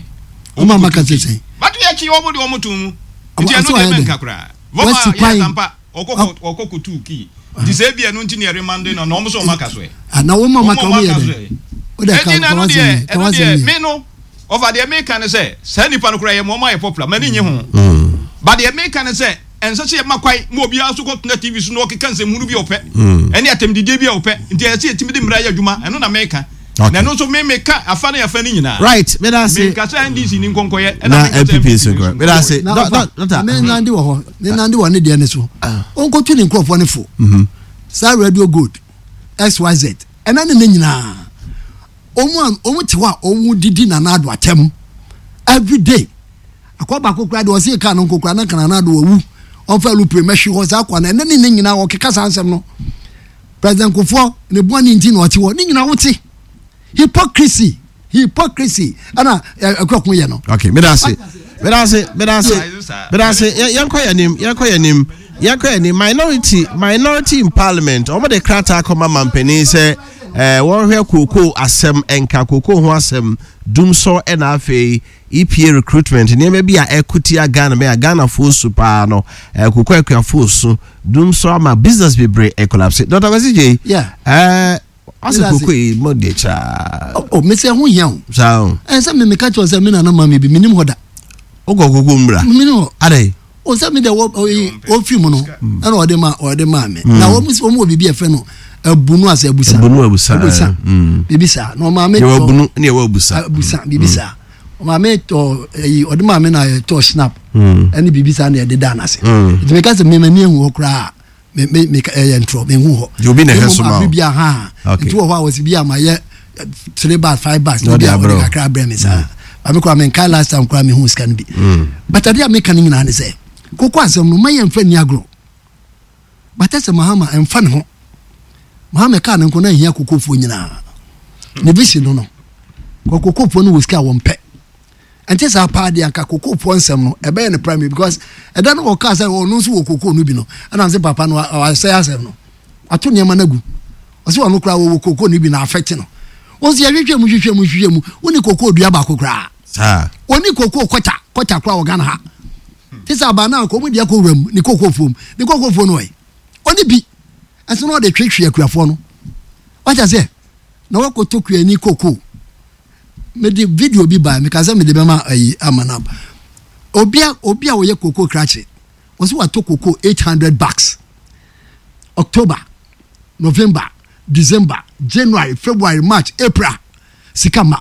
Wɔn a wɔn aka so sɛn. Bato yɛ kyi wɔn de wɔn too mu. Nti ɛno deɛ mɛnka koraa. Wɔn a yɛ ampa ɔkɔ ɔkɔ kotuu kii. Nti sɛ ebi ɛno nti na ɛremande no na wɔn so wɔn aka so ɛ. Na wɔn a wɔn aka wɔn yɛ dɛ. O de ka Ɛnti na ka ɛno wasɛm deɛ yɛ ka ɛno wasɛm deɛ yɛ. me no ɔfa deɛ meka ne sɛ saa nipa no koraa yɛ ma wɔn ayɛ popular m'ani nye ho. But deɛ meka ne sɛ Ɛnsɛ sɛ yɛma kwan ma obiara nso kɔtena TV so na ɔkeka nsɛmhunu bi a ɔpɛ ne atɛmdidie bi a ɔpɛ. Nti ɛsɛ sɛ yɛtumi de mmara yɛ adwuma. Ɛno na meka. Na ɛno nso me meka afa ne afa no nyinaa. Right, meda ase. Menka sɛ NDC ni nkɔnkɔyɛ ɛna Na menka sɛ NPP NPP nso ni nkɔyɛ. nso Meda ase. nkɔyɛ. Na Dɔ- ɔfa, dɔ- Dɔkta. me nande wɔ hɔ, me nande wɔ ne deɛ no so. Ɔnkɔtu ne nkurɔfoɔ no fo. Saa Radio Gold, XYZ, ɛna ne ne nyinaa. Wɔn a wɔn te hɔ a wɔn didi Nana Addo atɛm every day. Akwa baako koraa deɛ ɔse kaa no nko koraa na nka Nana Addo wawu. Ɔmfa alupre mɛhwe hɔ saa akwa no ɛnɛ ne ne nyinaa ɔkeka saa nsɛm no. President Kufuor ne bɔne nti na ɔte hɔ ne nyinaa wote. Hypocrisy hypocrisy ɛna ɛkɔko yɛ no. Okay, medase medase medase medase yɛnkɔ yɛn anim yɛnkɔ yɛn anim yɛnkɔ yɛn anim minority minority in parliament wɔn de krataa kɔma mampanin sɛ. Eh, wɔnhwɛ kookoo asɛm, nka kookoo ho asɛm, dumsɔ ɛna afei EPA recruitment, nneɛma bi a ɛko tia Ghana bɛn a Ghanafoɔ su paa no, eh, kookoo akuafoɔ su, dumsɔ ama business bebree ɛkolapse. Dr. Kwasi Gyei, Yeah. eh, ɔsɛ Meda ase. kookoo yi mo deɛ kyaa. Oh, oh, mese ɛho hia o. Saa o. Ɛn sɛ me meka kyerɛ wo sɛ me nana ma me bi, menim hɔ da. Wokɔ kookoo mmra? Menim hɔ. Adɛn? O sɛ mi deɛ wɔ ɔyi ofiri mu no ɛna ɔde ma ɔde maa mi na wɔn wɔn wɔ biribi a yɛfrɛ no abunu asɛ abusa abunu abusa abusa biribi saa na ɔmaa mi tɔ yɛwɔ abunu ne yɛwɔ abusa abusa biribi saa ɔmaa mi tɔ ɛyi ɔde maa mi na yɛtɔ snap ɛne biribi saa na yɛde da n'ase nti mi ka sɛ mi ma ni ehu hɔ koraa. Me me me ɛyɛ ntorɔ me hu hɔ. Deɛ obi na ɛhwɛ so ma o. Bi ha. Okay. Nti wɔ hɔ a wɔsi bi a ma yɛ three bags five bags. Na ɔde abrɛ o. Kakra abrɛ mi saa. Maame mm. kura mi nkae last time kura mi hu sika no bi. Mm. But adeɛ a meka no nyinaa ne sɛ koko asɛm no ma yɛn nfa ni agorɔ. But ɛsɛ Mahama ɛnfa ne ho. Mahama kaa ne nko na ehia kokofoɔ nyinaa. Ne vision no no. Kɔ kokofoɔ no wɔ sika a wɔn pɛ. Ɛnte saa paa deɛ anka kokofoɔ nsɛm no ɛbɛyɛ no primary because ɛda no wɔkaa sɛ ɔno nso wɔ kokoo no bi no ɛna sɛ papa no wasɛe asɛm no wato nneɛma no agu ɔsɛ ɔno koraa wɔwɔ kokoo no bi na afɛte no wɔn nso yɛhwehwɛ mu hwehwɛ mu hwehwɛ mu wone kokoo dua baako koraa wɔne kokoo kɔta kɔta koraa wɔ Ghana ha te sɛ abaa no a kɔn mu deɛ kɔ wura mu ne kokoo fuom ne kokoo fuo no ɔyɛ ɔne bi ɛso na ɔde twetwe akuafoɔ no wakyɛ sɛ na wakɔtɔ kuani kokoo mede video bi bae meka sɛ mede bɛma ayi ama no aba obi a obi a ɔyɛ koko krakye ɔsɛ watɔ koko 800 bucks october november december january february march april sika ma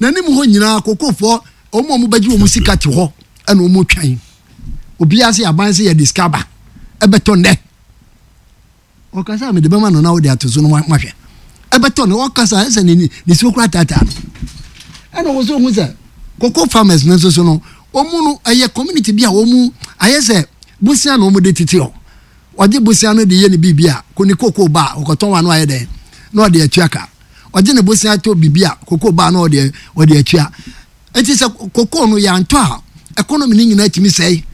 n'anim hɔ nyinaa kokofoɔ wɔn a wɔbɛgye wɔn sika te hɔ ɛna wɔn twɛn obiara sɛ aban sɛ yɛde sika ba ɛbɛtɔ nnɛ. Ɔkasa a mede bɛma no na wode ato so no mahwɛ. Ɛbɛtɔ no ɔkasa ɛsɛ ne nisuo koraa taataa no. Ɛna wɔ so hu sɛ cocoa farmers no nso so no wɔn no ɛyɛ community bi a wɔn ayɛ sɛ bosia na wɔn de tete hɔ. Ɔgye bosia no de yɛ ne biribi a ko ne cocoa ba a ɔkɔtɔn wa no ayɛ dɛn na ɔde atua ka. Ɔgye ne bosia to biribi a cocoa ba na ɔde ɔde atua. Eti sɛ cocoa no yɛantɔ a economy no nyinaa tumi sɛe.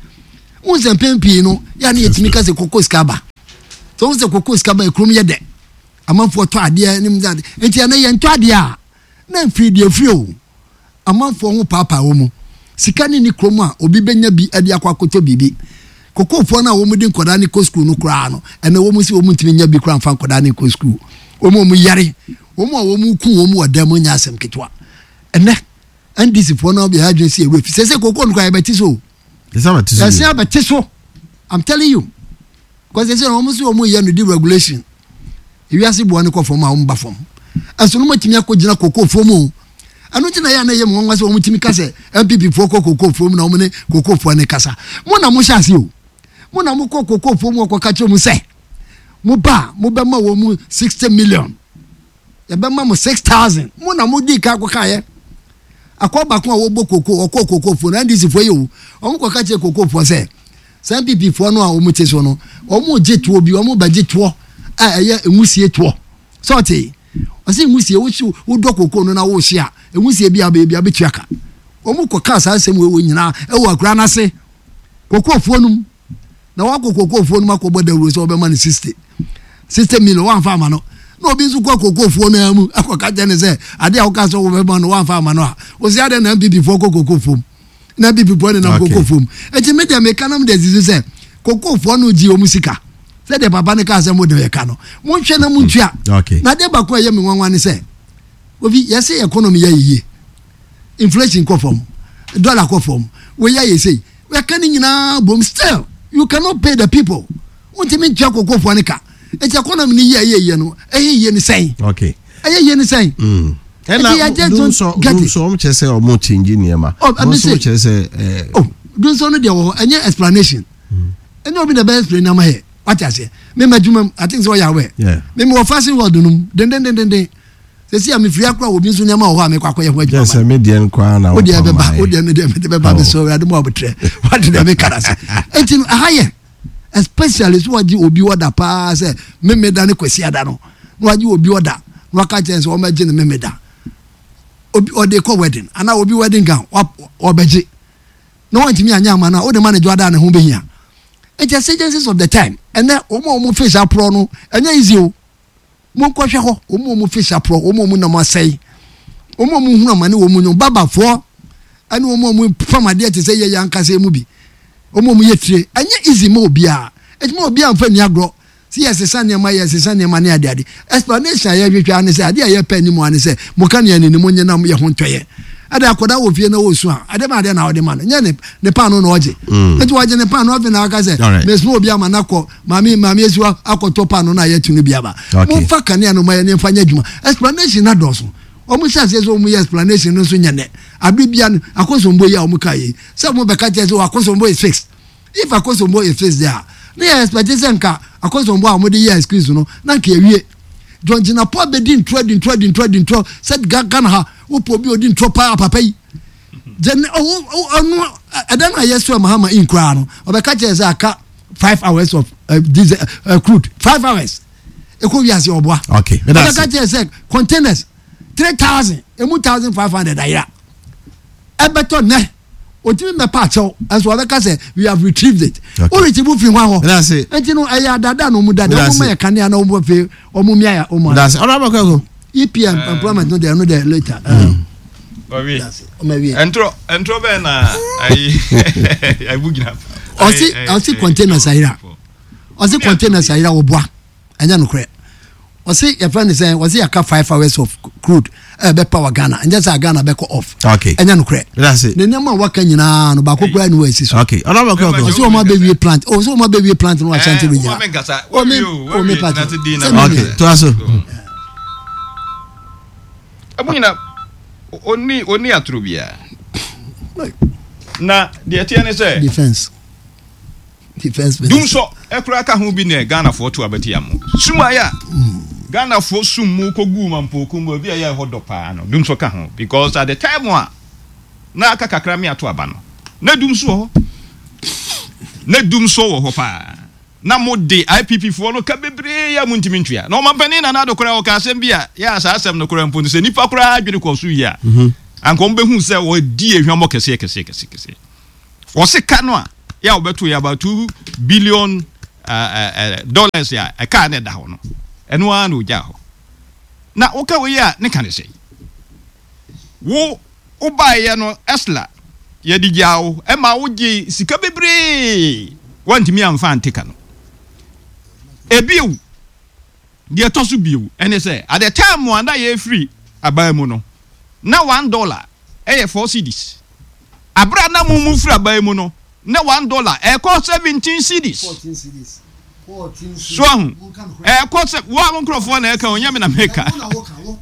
Wohu sɛ mpɛn pii no, yɛ a na yɛtumi ka sɛ koko sika ba. Sɛ wohu sɛ koko sika ba, kurom yɛ dɛ. Amanfoɔ tɔ adeɛ ne mu ade. Nti ɛnɛ yɛntɔ adeɛ a, na mfiri deɛ firi o. Amanfoɔ ho paapaa wɔ mu. Sika ne ni kurom a obi bɛnya bi de akɔ akɔtɔ biribi. Kokofoɔ no a wɔn de nkwadaa no kɔ sukuu no koraa no, ɛnɛ wɔn si wɔn ntumi nya bi koraa mfa nkwadaa no nkɔ sukuu. Wɔn a wɔn yare, wɔn a wɔn ku wɔn wɔ dan mu nyɛ asɛm ketewa. Ɛnɛ NDC foɔ no yɛ adwene si ewura fi. Sɛ sɛ koko no koraa yɛbɛte so o. Yɛsɛ abɛte so. I'm telling you. Because sɛ sɛ wɔn so wɔn yɛ no deregulation. Ewiase boɔ no kɔ fam a wɔn ba fam. Ɛso no wɔatumi akɔ gyina koko foɔ mu o. Ɛno nti na yɛ a na ɛyɛ mu nwanwa sɛ wɔn tumi ka sɛ NPP foɔ kɔ koko foɔ mu na wɔn ne koko foɔ no kasa. Mo na mo hyɛ ase o. Mo na mo kɔ koko foɔ mu ɔkɔ ka kyerɛ mu sɛ mo ba a mo bɛma wɔn mu 60 million. Yɛbɛma mo 6000. Mo na mo di kan kɔ kaeɛ. Akɔ baako a wɔbɔ koko ɔkɔ koko foɔ no NDC foɔ yɛ o. Wɔn kɔ ka kyerɛ koko foɔ sɛ saa NPP foɔ no a wɔn te so no wɔn gye toɔ bi wɔn bɛgye toɔ a ɛyɛ nwusie toɔ. Sɛ ɔte ɔsɛ nwusie wohye wodɔ koko no na wohye a nwusie bi a bɛyɛ bi a bɛtua ka. Wɔn kɔ kaa saa asɛm wei wɔ nyinaa ɛwɔ akura no ase koko foɔ no mu. Na wakɔ kokofoɔ no mu akɔbɔ dawuro sɛ ɔbɛma no 60 60 million wamfa ama no na obi nso kɔ kokofoɔ no ara mu akɔka kyerɛ no sɛ adeɛ a woka sɛ wobɛma no wamfa ama no a wɔsi adeɛ na NPP foɔ kɔ kokofoɔ mu na NPP foɔ nenam kokofoɔ mu eti me deɛ meka nam deɛ sisi sɛ kokofoɔ no gye wɔn sika sɛdeɛ papa no kaa sɛ mo de yɛ ka no monhwɛ na montua na adeɛ baako a ɛyɛ me nwanwa ne sɛ obi yɛsɛ economy yɛ yie inflation kɔ fam dollar kɔ fam wei ayɛ sei yɛka ne nyinaa bom still you cannot pay the people wontumi ntua kokofoɔ no ka nti economy no yie ɛyɛ yie no ɛyɛ yie no sɛn okay ɛyɛ yie no sɛn mm. ɛna dumsɔ dumsɔ wɔn kyerɛ sɛ wɔn change nneɛma wɔn nso kyerɛ sɛ ɛɛ oh dumsɔ no deɛ wɔ hɔ ɛnyɛ explanation mm. ɛnyɛ obi na ɛbɛ explain ama yɛ wate aseɛ mema adwuma mu i think sɛ ɔyɛ awɛ mema wɔ fashion world no mu dendendendenden Sɛsi a mefiri akora wɔ obi nso nneɛma wɔ hɔ a mekɔ akɔyɛ ho adwuma. Sɛ me deɛ nko ara na wɔpam ayɛ. Wodeɛ bɛba, wodeɛ no deɛ mede bɛba bɛsɛ Awurade mu abotrɛ. Wate deɛ meka no ase. Enti no ɛha yɛ especially so wagye obi ɔda paa sɛ memeda ne kwasi ada no na wagye obi ɔda na waka kyerɛ sɛ wɔmɛgye no memeda. Obi ɔde kɔ wedding anaa obi wedding gown ɔbɛgye na wantumi anyɛ ama no a wode ma no dwo ada a ne ho bɛhia. Enti exigencies of the time ɛnɛ wɔn a wɔn face aporɔ no ɛnyɛ easy o. Monkɔhwɛ hɔ, wɔn a wɔn fish aporɔ, wɔn a wɔn nam asɛe, wɔn a wɔhunu amane wɔ wɔn mu, babafoɔ ɛne wɔn a wɔpam adeɛ te sɛ yɛyɛ ankasa mu bi, wɔn a wɔyɛ tire. Ɛnyɛ easy ma obiara, ɛti ma obiara nfa nni agorɔ. Sɛ yɛsesa nneɛma, yɛsesa nneɛma ne adeade. Explanation a yɛhwehwɛ ara ne sɛ, adeɛ a yɛpɛ anim ara ne sɛ, mo ka nea ne mo nye na yɛ ho ntɔyɛ. Ɛde akwadaa wɔ fie na ɔresu a, ade ma adeɛ na ɔde ma no, nyɛ ne ne paano na ɔgye. Nti ɔgye ne paano afei na aka sɛ, mesoma obi ama no akɔ Maame maame esiwa akɔtɔ paano na yɛte no bi aba. Okay. Momfa kanea no ma yɛn mfa nyɛ adwuma. Explanation na dɔɔso. Wɔn hyɛ aseɛ sɛ wɔn yɛ explanation no nso nyɛ nɛ. Abere bia no akosombo yi a wɔn ka yi sɛ wɔn bɛka kyerɛ sɛ akosombo is fixed. If akosombo is fixed there a na yɛ expect sɛ nka akosombo a wɔn de yɛ excuse no na nka ewie. John Jinapor bɛdi ntorɔ di ntorɔ di ntorɔ di ntorɔ sɛ Ghana ha wopɛ obi odi ntorɔ paa papa yi. Gyene ɔno ɛda no a yɛsɔ Mahama in koraa no ɔbɛka kyerɛ sɛ aka 5 hours of uh, diesel uh, crude 5 hours ɛkɔ wiase ɔboa okay ɔbɛka kyerɛ sɛ containers 3000 emu 1500 ayera ɛbɛtɔ nnɛ otumi mɛpa akyɛw ɛnso ɔbɛka sɛ we have retrieved it o retrieve firi hwan hɔ nti no ɛyɛ adada na ɔmu dada ɔmu ma yɛ kanea na ɔmu afei ɔmu mia yɛ ɔmu ano. EPM mm. employment no deɛ ɛno deɛ later. Ɔwi ɛntorɔ ɛntorɔ bɛn na ayi ayi gyina. Ɔsi ɔsi containers ayira ɔsi containers ayira ɔboa ɛnyɛ nokorɛ ɔsi yɛfrɛ ne sɛn ɔsi yɛaka five hours of crude ɛbɛ power Ghana ɛnyɛ sɛ Ghana bɛkɔ off ɛnyɛ nokorɛ ne nneɛma a waka nyinaa no baako koraa ni wɔ esi so ɔsi wɔn abɛwie plant ɔsi wɔn abɛwie plant no wɔ Ashanti region ɔmi ɔmi party sɛ mi mi. Ɛmu nyina ɔnni ɔnni atoro biara. Na deɛ ɛteɛ ne sɛ. Defense. Defense minister. Dumsɔ ɛkora ka ho bi ne Ghanafoɔ to abati amo. Sum ayɛ a Ghanafoɔ sum mu kɔguu Mampooku mu baabi a ɛyɛ ɛhɔ dɔ paa no dumsɔ ka ho because at the time a na aka kakra me ato aba no na dumsɔ wɔ hɔ. Na dumsɔ wɔ hɔ paa. Na mo de IPP foɔ no ka bebree a montumi ntua. Na ɔmampanin Nana Addo koraa ɔkaa asɛm bi a, yɛ a saa asɛm no koraa mpo no sɛ nnipa koraa adwene kɔɔ so yie a, anka wɔn bɛhu sɛ wɔadi ehwammɔ kɛseɛ kɛseɛ kɛseɛ kɛseɛ. Ɔse ka no a. Yɛ a wɔbɛto yɛ about 2 billion dollars a ɛka na ɛda hɔ no, ɛno ara na ogyaa hɔ. Na woka wei a, ne ka ne sɛn? Wo wobaeɛ no, ESLA yɛde gyaa wo ɛma wogye sika bebree, woantumi amfa ante ka no. Ebio, deɛ ɛtɔ so bio ɛne sɛ, at the time a na yɛrefiri aban mu no, na $1 ɛyɛ 4 cedis. Abere a na mo mu firi aban mu no, na $1 ɛkɔ 17 cedis. So ahu, ɛkɔ sɛ wo a mo nkurɔfoɔ na ɛka, onyɛ me na meka.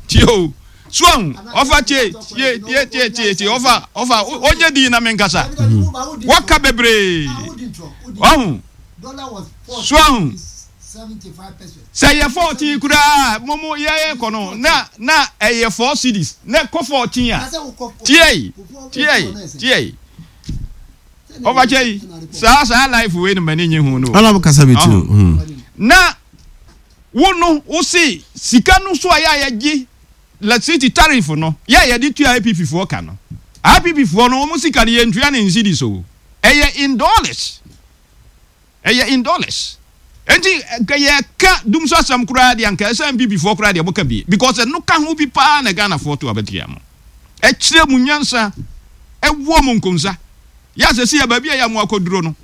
Tie o, so ahu, ɔfa tie tie tie tie tie tie, ɔfa ɔfa onye di na menkasa. Wɔka bebree ɔhu, so ahu sɛ yɛ 14 koraa, mo mo yɛyɛ kɔ no na ɛyɛ 4 cedis na ɛkɔ 14 a. Tie tie tie, ɔfa kyɛ yi, saa life wei no, m'ani nye ho no. Ɔna mo kasa bi ti o. Na wo no, wo se sika no so a yɛ a yɛgye electricity tariff no, yɛ a yɛde tua IPP foɔ ka no, IPP foɔ no, wɔn sika no, yɛntua ne in cedis o, ɛyɛ in dollars, ɛyɛ in dollars. Nti nka yɛka dum so asɛm koraa deɛ, anka ɛsɛ NPP foɔ koraa deɛ moka bi, because ɛno ka ho bi paa na Ghanafoɔ to abɛtua mo, ɛkyerɛ mu nyansa, ɛwɔ mo nkonsa yɛ asɛ si yɛ baabi a yɛ mo akɔduro no.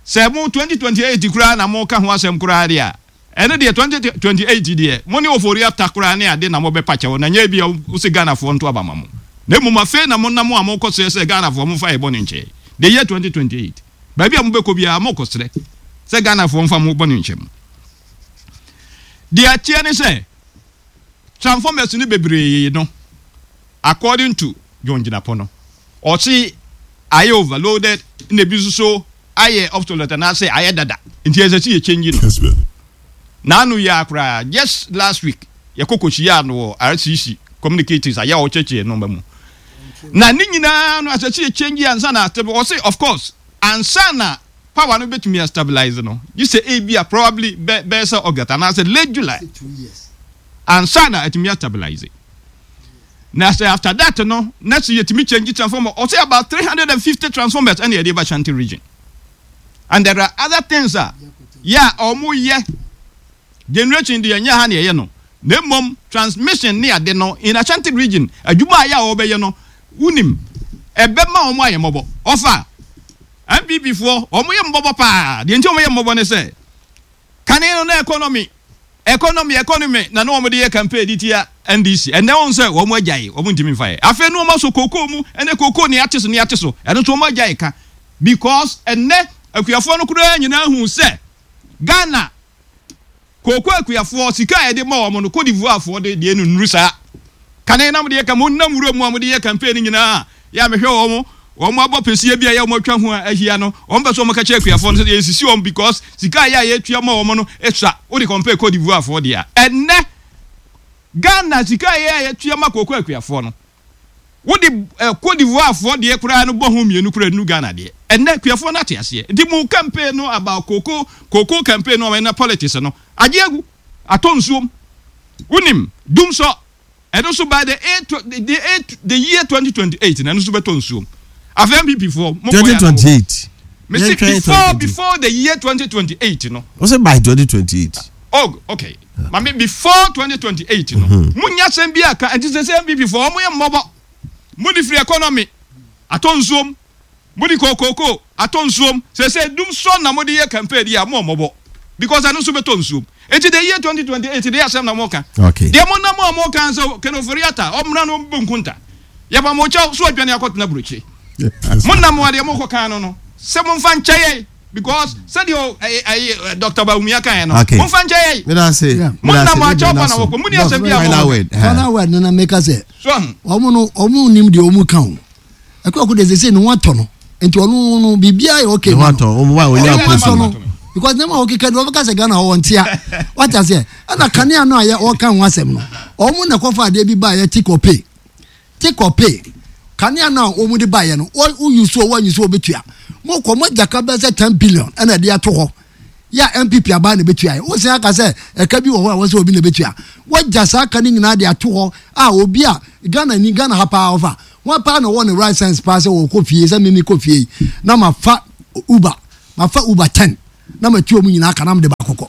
Sɛ mo 2028 koraa na mo ka ho asɛm koraa deɛ a, ɛno deɛ, 2028 deɛ, mo ne Ofori Ata koraa ne ade na mobɛpa kyɛw, na nyɛ bi a wosɛ Ghanafoɔ nto aba ma mo, na mmom afei na monam a mokɔ srɛ sɛ Ghanafoɔ momfa yɛ bɔne nkyɛ. The year 2028, baabi a mobɛkɔ biara, mokɔ srɛ sɛ Ghanafoɔ mfa mo bɔne nkyɛ mo. Deɛ ɛteɛ ne sɛ transformers no bebree no, according to John Jinapor no, ɔse ayɛ overloaded, na ebi nso so ayɛ obsolete anaasɛ ayɛ dada, nti ɛsɛ sɛ yɛ change no. N'ano yi ara koraa, just last week yɛkɔ kɔhyiaa no wɔ RCC communicators ayɛ a ɔkyerɛkyerɛ nneɛma mu, na ne nyinaa no ɛsɛ sɛ yɛ change ansa na, ɔse of course, ansa na power no bɛtumi a stabilize no, gye sɛ ebi a probably bɛyɛ sɛ August anaasɛ late July ansa na atumi a stabilize. Na sɛ after that no na sɛ yɛtumi change transformer, ɔsɛ about 350 transformers ɛna yɛde ba Ashanti Region, and there are other things a yɛ a ɔmo yɛ. Generation deɛ, nyɛ ha na yɛyɛ no, na mmom transmission ne ade no in Ashanti Region, adwuma a yɛ a wɔbɛyɛ no, wonim ɛbɛma wɔn ayɛ mmɔbɔ. Ɔfa NPP foɔ, wɔn yɛ mmɔbɔ paa. Deɛ nti wɔn yɛ mmɔbɔ ne sɛ, kane no na economy, economy, economy na wɔn de yɛ campaign de tia NDC. Ɛnɛ wɔn sɛ wɔn agyae, wɔn ntumi nfa yɛ. Afei no wɔn asɔ kookoo mu, ɛnɛ kookoo ne ate so ne ate so, ɛno nso wɔn agyae ka, because ɛnɛ akuafoɔ no koraa nyinaa hu sɛ Ghana kooko akuafoɔ sika a yɛde ma wɔn no, Cote d'Ivoire foɔ de deɛ no nnuru saa. Kane na mode yɛ ka mo nam wura mu a mode yɛ campaign no nyinaa, yɛ a mehwɛ wɔn, wɔn abɔ pɛsie bi a yɛ wɔn atwa ho a ahyia no, wɔn pɛ sɛ wɔn ka kyerɛ akuafoɔ no sɛ yɛsisi wɔn because sika a yɛ a yɛtua ma wɔn no esua, wode compare Cote d'Ivoire foɔ deɛ a. Ɛnnɛ Ghana sika a yɛ a yɛtua ma kooko akuafoɔ no, wode Cote d'Ivoire foɔ deɛ koraa no bɔ ho mmienu koraa nnuru Ghana deɛ. Ɛnnɛ akuafoɔ no ate aseɛ. Nti mo campaign no about cocoa, cocoa campaign no a na politics no agye agu, atɔ nsuom. Wonim, dumsɔ, ɛno nso by the eight, the eight, the year 2028 na ɛno nso bɛtɔ nsuom. Afei NPP foɔ, mo kɔ ya na mo. 2028. Mese before, before the year 2028 no. Wọ́n sẹ́ by 2028. Oh, okay. Mame before 2028 no, mo nya asɛm bi aka. Nti sɛ sɛ NPP foɔ, wɔn yɛ mmɔbɔ. Mo de firi economy atɔ nsuom. Mo de kookoo atɔ nsuom. Sɛ sɛ dum sɔ na mo de yɛ campaign di a, mo mmɔbɔ. Because ɛno nso bɛtɔ nsuom. Nti the year 2028 de asɛm na mo ka. Deɛ mo nam a mo ka sɛ Ken Ofori-Atta ɔmmra no ɔmbɔ nkunta. Yɛba mo kyɛw so adwane akɔtena burokyire. Mo nam a deɛ mo kɔ kan no, sɛ mo mfa nkyɛ yɛn, because sɛdeɛ ɛyɛ Dr. Bawumia kan yɛ no, mo mfa nkyɛ yɛn. Mo nam a kyɛw pa na wɔkɔ mo ni asɛm bi a mo. Final word no na meka sɛ wɔn no wɔn nim deɛ wɔn ka o. Ɛkɔ ko de sese ne ho atɔ no, nti ɔno no biribiara yɛ okay ma no. Ne ho atɔ no because nneɛma a wɔkeka de wɔbɛka sɛ Ghana hɔ wɔn tia, wate aseɛ. Ɛna kanea no a yɛ wɔka ho asɛm no, wɔn na kɔfa adeɛ bi ba yɛ take or pay, take or pay. Kanea no a wɔn de ba yɛ no, wɔ woyi so wɔnyi so, wɔbɛtua mo kɔ mo agya ka bɛyɛ sɛ 10 billion ɛna ɛde ato hɔ yɛ a NPP aban na ɛbɛtua yɛ. Wosan aka sɛ ɛka bi wɔ hɔ a wɔsɛ obi na ɛbɛtua. Wɔgya saa ka no nyinaa de ato hɔ a obi a Ghana ni, Ghana ha paa, ɔfa. Hwan paa na ɔwɔ ne right sense paa sɛ ɔkɔ fie sɛ meme kɔ fie yi na mafa Uber, mafa Uber 10 na matu wɔn nyinaa ka na mede baako kɔ.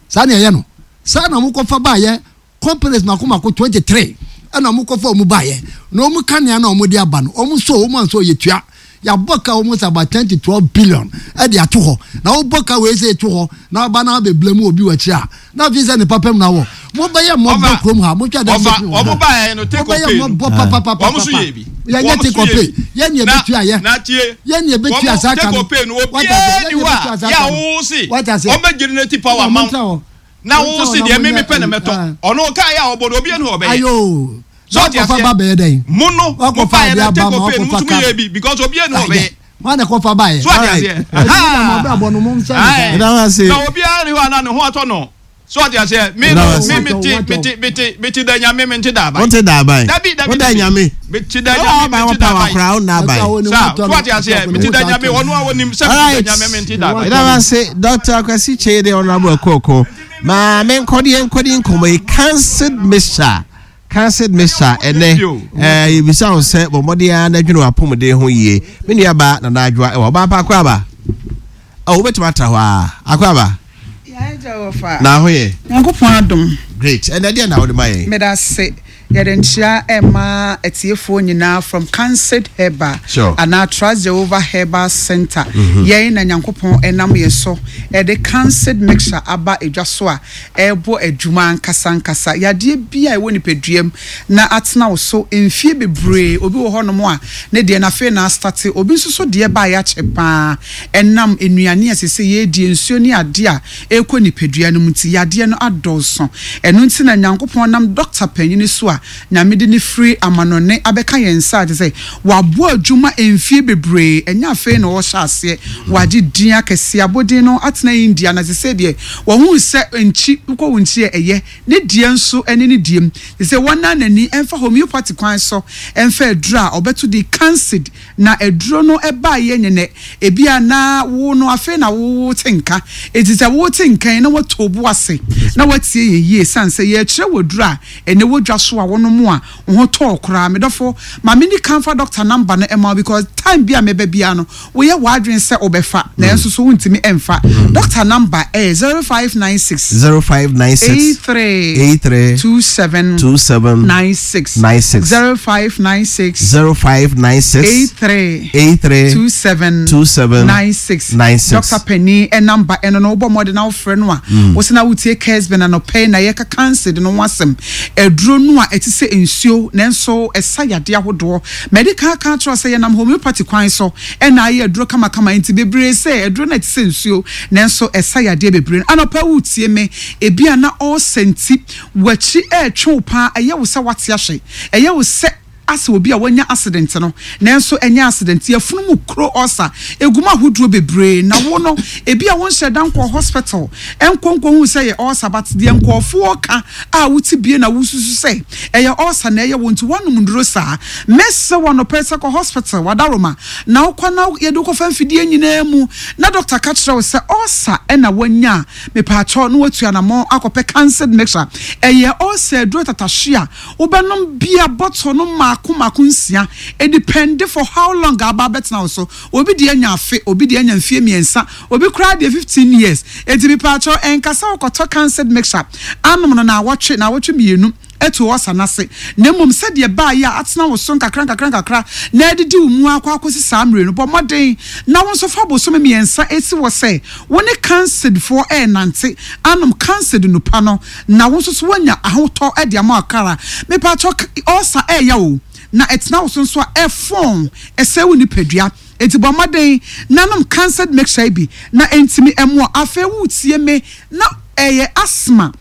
Saa na ɛyɛ no. Saa na mokɔfa baayɛ companies mako mako 23 ɛna mokɔfa wɔn baayɛ na wɔn kanea na wɔn de aba no wɔn so wɔn anso yɛtua. Yɛabɔ ka almost about 10 to 12 billion ɛde ato hɔ na wobɔ ka wei sɛ eto hɔ na aba na abɛbla mu obi wɔ akyire a na afei sɛ ne papa mu na wɔ mobɛyɛ mmɔbɔ kurom ha motwa dɛ ɔfa ɔmo baeɛ no take mobɛyɛ or pay no mmɔbɔ papapapa wɔn nso yɛ bi yɛnyɛ wɔn nso take or yɛ pay bi yɛn ne na ɛbɛtua yɛ na tie yɛn ne ɛbɛtua wɔn saa ka take no or pay no wate aseɛ obiara yɛn ni ne hɔ ɛbɛtua a saa yɛ ka a no wo se wate aseɛ wɔn bɛ generate power na ma montra wo hɔ na montra wo hɔ se na deɛ monyɛ meme pɛ na ayi mɛtɔ ah. ɔno kaa yɛ a ɔbɔ no obiara ni hɔ a ɔbɛyɛ ayo so na ɔte wakɔfa aseɛ ba bɛyɛ dɛn mo no mo wakɔfa baeɛ adeɛ no aba take ma or pay no mo wakɔfa nso mo ka yɛ bi because obiara ni hɔ a ɔbɛyɛ wọn na ɛkɔfa baeɛ so ɔte Alright. aseɛ ɛti mo na mo ahaa abrabɔ no mo nsɛn no saa ae Ɛda wo ase. na obiara ni hɔ a na ne ho atɔ no so ɔte aseɛ me Ɛda no wo ase. me mete Watɔ, watɔ. mete mete mete da nyame mente da aban Wonte da aban. dabi dabi Woda dabi nyame. mete da Wo nyame aban mente da wɔpa aban wakora wo nna ɛsɛ aban. a wo ne saa ho so tɔ no ɔte aseɛ ɛsɛ ne mete ho da saa nyame tɔ no ɔno a wɔnim sɛ mete da Alright. nyame mente da aban Ɛda wo ase Dr. Kwasi Kyei de Honorable Akoko. Ma me nkɔde nkɔde nkɔmmɔ yi cancelled mixture. Cancelled mixture ɛnɛ ɛɛ yɛbisa wo sɛ bɔ mmɔden ara na adwene w'apɔmuden ho yie. Me nua ba Nana Adwoa ɛwɔ ɔbaa pa akɔ aba. Ɔ wobɛtumi atra hɔ a akɔ aba. Yɛn agya wɔ fa. Na ho yɛ. Nyankopɔn adom. Great. Ɛnɛ deɛ na wode ma yɛn. Meda ase. Yɛde nkyea ɛma atiefoɔ nyinaa from Canced Herbal Sure. anaa Trust Jehovah Herbal Center. Yɛn na Nyankopɔn ɛnam yɛn so ɛde Canced mixture aba edwa so a ɛrebɔ adwuma ankasa ankasa. Yadeɛ bi a ɛwɔ nipadua mu na atena wo so mfie bebree. Obi wɔ hɔnom a ne deɛ no afei na astate. Obi nso so deɛ baeɛ akyɛ paa. Ɛnam nnuane a ɛsɛ sɛ yɛdie, nsuo ne adeɛ a ɛrekɔ nipadua no mu nti, yadeɛ no adɔɔso. Ɛno nti na Nyankopɔn nam dɔkta panyini so a Nyame de no firi amanɔne abɛka yɛn nsa a kyerɛ sɛ wabɔ adwuma mfie bebree, ɛnyɛ afei na ɔrehyɛ aseɛ, wagye din akɛseɛ, abɔdin no atena India na sesei deɛ wahunu sɛ nkyi, wokɔ wo nkyi a ɛyɛ, ne deɛ nso ne ne deɛ mu. Sesei wɔnnan n'ani mfa homeopathy kwan so mfa aduro a ɔbɛto din Cancid. Na aduro no baeɛ nyɛ nɛ, ebia na wo no afei na wote nka. Enti sɛ wote nka yi na woato wo bo ase na woatie yɛn yie ɛsiane sɛ yɛrekyerɛ wo aduro a ɛnɛ wɔ dwa so a wonom a wo ho tɔ wo koraa. Me dɔfo, ma menni kan mfa doctor number no mma wo because time bi a mɛba biara no woyɛ w'adwene sɛ wobɛfa nanso so wontumi mfa. Doctor number ɛyɛ 0596 0596 83 83 27 27 96 96 0596 0596 83 83 27 27 96 96. Dɔkta panin namba ɛno no wobɔ mmɔden na wofrɛ no a wosɛ na wotie Kesben anɔpɛ yi na yɛka kansa no ho asɛm aduro no a ɛte sɛ nsuo nanso ɛsa yadeɛ ahodoɔ mɛde kan aka akyerɛ wo sɛ yɛnam homeopathy kwan so ɛna ayɛ aduro kamakama nti bebree sɛ aduro no a ɛte sɛ nsuo nanso ɛsa yadeɛ bebree no anɔpa wotie me ebi a na ɔɔsɛ nti w'akyi ɛretwe wo paa ɛyɛ wo sɛ wate ahwe ɛyɛ wo sɛ asɛ obi a wanya accident no, nanso ɛnyɛ accident. Yafunu mu kuro ulcer egu mu ahodoɔ bebree na wo no ebi a wonhyɛ da nkɔɔ hospital nkɔ nkɔhu sɛ ɛyɛ ulcer but deɛ nkurɔfoɔ ka a wote bie na wosusu sɛ ɛyɛ ulcer na ɛyɛ wo nti woanom nnuro saa. Mɛsrɛ wo anɔpa yi sɛ kɔ hospital wadaroma na wokɔ na yɛde wo kɔfa mfidie nyinaa mu na doctor ka kyerɛ wo sɛ ulcer na woanya a mepaakyɛw na woatu anamɔn akɔpɛ cancelled mixture. Ɛyɛ ulcer aduro tatahwe a Wobɛnom beer bottle no mmaako mmaako nsia. Edepɛnde for how long a aba abɛtena wo so. Obi deɛ anya afe, obi deɛ anya mfie mmiɛnsa, obi koraa deɛ 15 years. Enti mepaakyɛw ɛnka sɛ wokɔtɔ canced mixture anom no naawɔtwe, naawɔtwe mmienu atu ulcer no ase. Na mmom sɛdeɛ ɛbaeɛ a atena wo so nkakra nkakra nkakra na adidi wo mu ara kɔ akɔsi saa mmerɛ no, bɔ mmɔden na wo nso fa bosome mmiɛnsa si hɔ sɛ wo ne canced foɔ renante anom canced nnupa no. Na wo nso so woanya ahotɔ de ama ɔkra. Mepakyɛw, ulcer ɛyɛ o, na ɛtena wo so nso a, ɛfɔn, ɛsɛe wo nipadua. Enti bɔ mmɔden na nom cancelled mixture yi bi na ɛntumi mmoa. Afei woretie me na ɛyɛ asthma.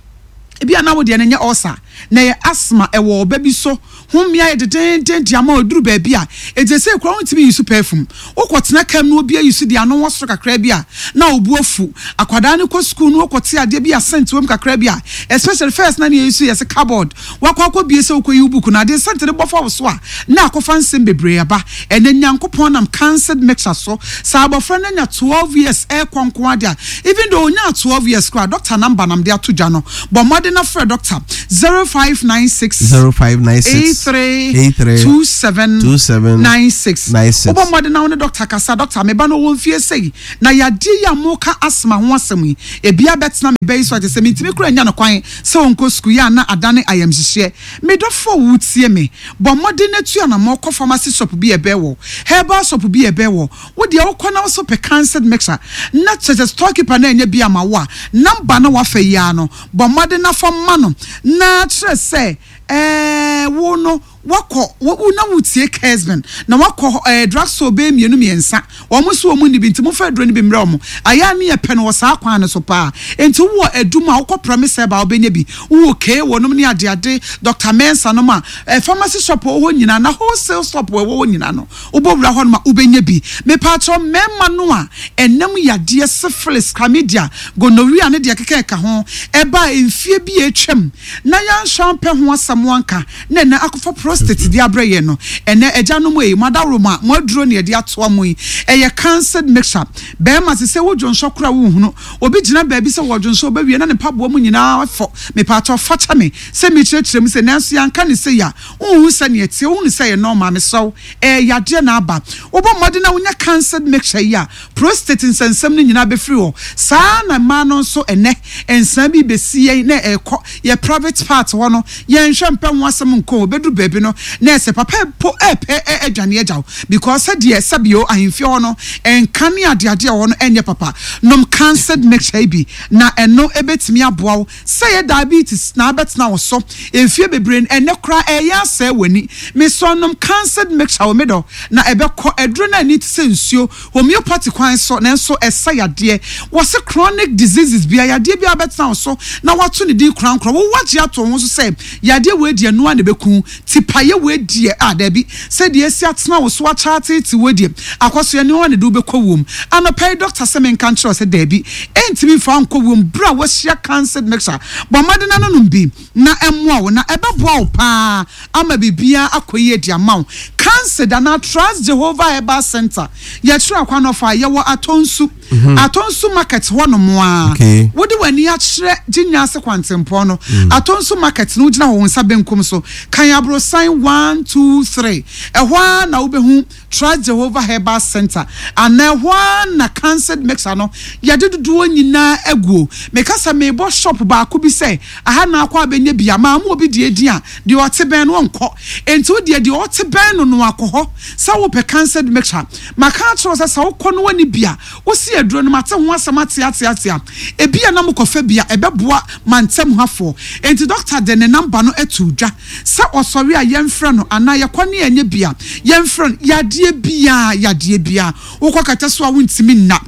Ebia na wo deɛ no nyɛ ulcer, na ɛyɛ asthma, ɛwɔ ɔba bi so. Ho mmea yɛ dedeenden de ama wo ɛduru baabi a, enti seesei koraa wontumi nyi so perfume. Wokɔtena kaa mu na obi ayi so de ano wɔ soro kakra bi a, na wo bo afu. Akwadaa no kɔ sukuu na ɔkɔte adeɛ bi a scent wɔ mu kakra bi a, especially first na nea yɛyi so yɛ sɛ cupboard, wakɔ akɔbue sɛ wokɔyi wo book no, adeɛ scent no bɔ fa wo so a, na akɔfa nsɛm bebree aba. Ɛnnɛ Nyankopɔn nam cancelled mixture so, sɛ abɔfra no anya 12 years rekɔ nko ara deɛ a, even though ɔnyaa 12 years koraa a, doctor number na mede ato dwa no, bɔ mmɔden na frɛ doctor, 0596 0596. 83 83 27 27 96. 96. Wobɔ mmɔden na wo ne dɔkta kasa. Dɔkta, me ba no ɔwɔ mfie sei, na yadeɛ yi a moka asthma ho asɛm yi, ebi abɛtena me ba yi so a kyerɛ sɛ mentumi koraa nnya no kwan sɛ ɔnkɔ sukuu yi a na adane ayamhyehyeɛ. Me dɔfo a woretie me, bɔ mmɔden na tu anammɔn kɔ pharmacy shop bi a ɛbɛn wo, herbal shop bi a ɛbɛn wo. Wo deɛ wokɔ na wo so pɛ cancer mixture na kyerɛ sɛ store keeper no annya bi amma wo a, number no a wafa yi ara no, bɔ mmɔden na fa ma no na kyerɛ sɛ ɛɛ wo no wakɔ wo wo na wotie Kesben na wakɔ ɛɛ drug store bɛyɛ mmienu mmiɛnsa wɔn nso wɔn nni bi nti momfa aduro no bi mmrɛ wɔn. Ayɛ a ne yɛpɛ no wɔ saa kwan no so paa. Nti wowɔ adum a wokɔ Promise Herbal a wobɛnya bi, wowɔ K wɔ nom ne adeade, Doctor Mensah nom a, ɛɛ pharmacy shop a ɛwɔ hɔ nyinaa na wholesale shop a ɛwɔ hɔ nyinaa no Wobɔ wura hɔnom a, wobɛnya bi. Mepaakyɛw, mmarima no a ɛnam yadeɛ, syphilis, chlamydia, gonorrhea ne deɛ ɛkeka ɛka ho, ɛbaa mfie bi a atwam na yɛanhwɛ ampɛ ho asɛm anka na ɛnnɛ akɔfa prostate de abrɛ yɛn no, ɛnnɛ agyanom ei, mo adaworoma, mo aduro na yɛde atoa mo yi, ɛyɛ cancered mixture. Barima, sesei wo dwonsɔ koraa wonhunu. Obi gyina baabi sɛ wɔdwonsɔ, ɔbɛwie na ne mpaboa mu nyinaa afɔ. Mepaakyɛw, fa kyɛ me sɛ mekyerɛkyerɛ mu sei, nanso yɛanka no sei a, Wonhu sɛnea ɛteɛ, wohunu sɛ ɛyɛ normal, mesrɛ wo, ɛyɛ yadeɛ na aba. Wobɔ mmɔden na wonya cancered mixture yi a, prostate nsɛnsɛm no nyinaa bɛfiri hɔ. Saa ara na mmaa no nso ɛnnɛ, nsaa bi rebɛsi yɛn na ɛrekɔ yɛn private part hɔ no, yɛnhwɛ mpɛ ho asɛm nkɔ o, ɛbɛduru baabi no na ɛsɛ papa mpo repɛ adwane agya wo because sɛdeɛ sɛbio ahemfie hɔ no nka ne adeade a ɛwɔ hɔ no ɛnyɛ papa. Nom cancered mixture yi bi na ɛno ɛbɛtumi aboa wo Sɛ ɛyɛ diabetes na abɛtena wo so mfeɛ bebree no, ɛnnɛ koraa ɛreyɛ asɛe w'ani. Mesɔ nom cancered mixture wɔ me dɔ na ɛbɛkɔ. Aduro no ani te sɛ nsuo, homeopathy kwan so, nanso ɛsa yadeɛ. Wɔse chronic diseases biara, yadeɛ biara bɛtena wo so na wɔato ne din korankorɔ. Wo woagye ato wo ho so sɛ yadeɛ wei deɛ ɛno ara na ɛbɛku wo. Tipaeɛ wei deɛ, ah daabi, sɛdeɛ asi atena wo so akyɛ ateetee wo deɛ, akɔsoɛ ne hɔ na ɛde wo bɛkɔ wuom. Anɔpa yi dɔkta sɛ menka nkyerɛ wo sɛ daabi, ɛntumi mfa wo nkɔ wuom berɛ a woahyia cancer mixture. Bɔ mmɔden na nonom bi na ɛmmoa wo na ɛbɛboa wo pa ara ama biribiara akɔ yie de ama wo. Cancer anaa Trust Jehovah Herbal Center, yɛkyerɛ akwan ɔfa a, yɛwɔ Atonsu. Atonsu market hɔ nom a, wode w'ani akyerɛ Gyinya ase kwantempɔn no, Atonsu market no wogyina hɔ wo nsa benkum so, kan aborosan one, two, three, ɛhɔ ara na wobɛhu Trust Jehovah Herbal Center anaa ɛhɔ ara na Cancered Mixer no yɛde dodoɔ nyinaa aguo. Meka sɛ merebɔ shop baako bi sɛ aha na akɔ abɛnya bi a, maa mo obi deɛ din a, deɛ ɔte bɛn no ɔnkɔ. Enti wo deɛ, deɛ ɔte bɛn no no akɔ hɔ sɛ wopɛ Cancered Mixer. Maka akyerɛ wo sɛ sɛ wokɔ na woanni bi a, wosi aduro no, mate ho asɛm ateateatea. Ebia na mokɔfa bi a, ɛbɛboa mantam hafoɔ. Enti dɔkta de ne namba no too dwa sɛ ɔsɔre a yɛmfrɛ no anaa yɛkɔ ne yɛnyɛ bi a, yɛmfrɛ no. Yadeɛ biara, yadeɛ biara, wokɔ kɛtɛ so a wontumi nna.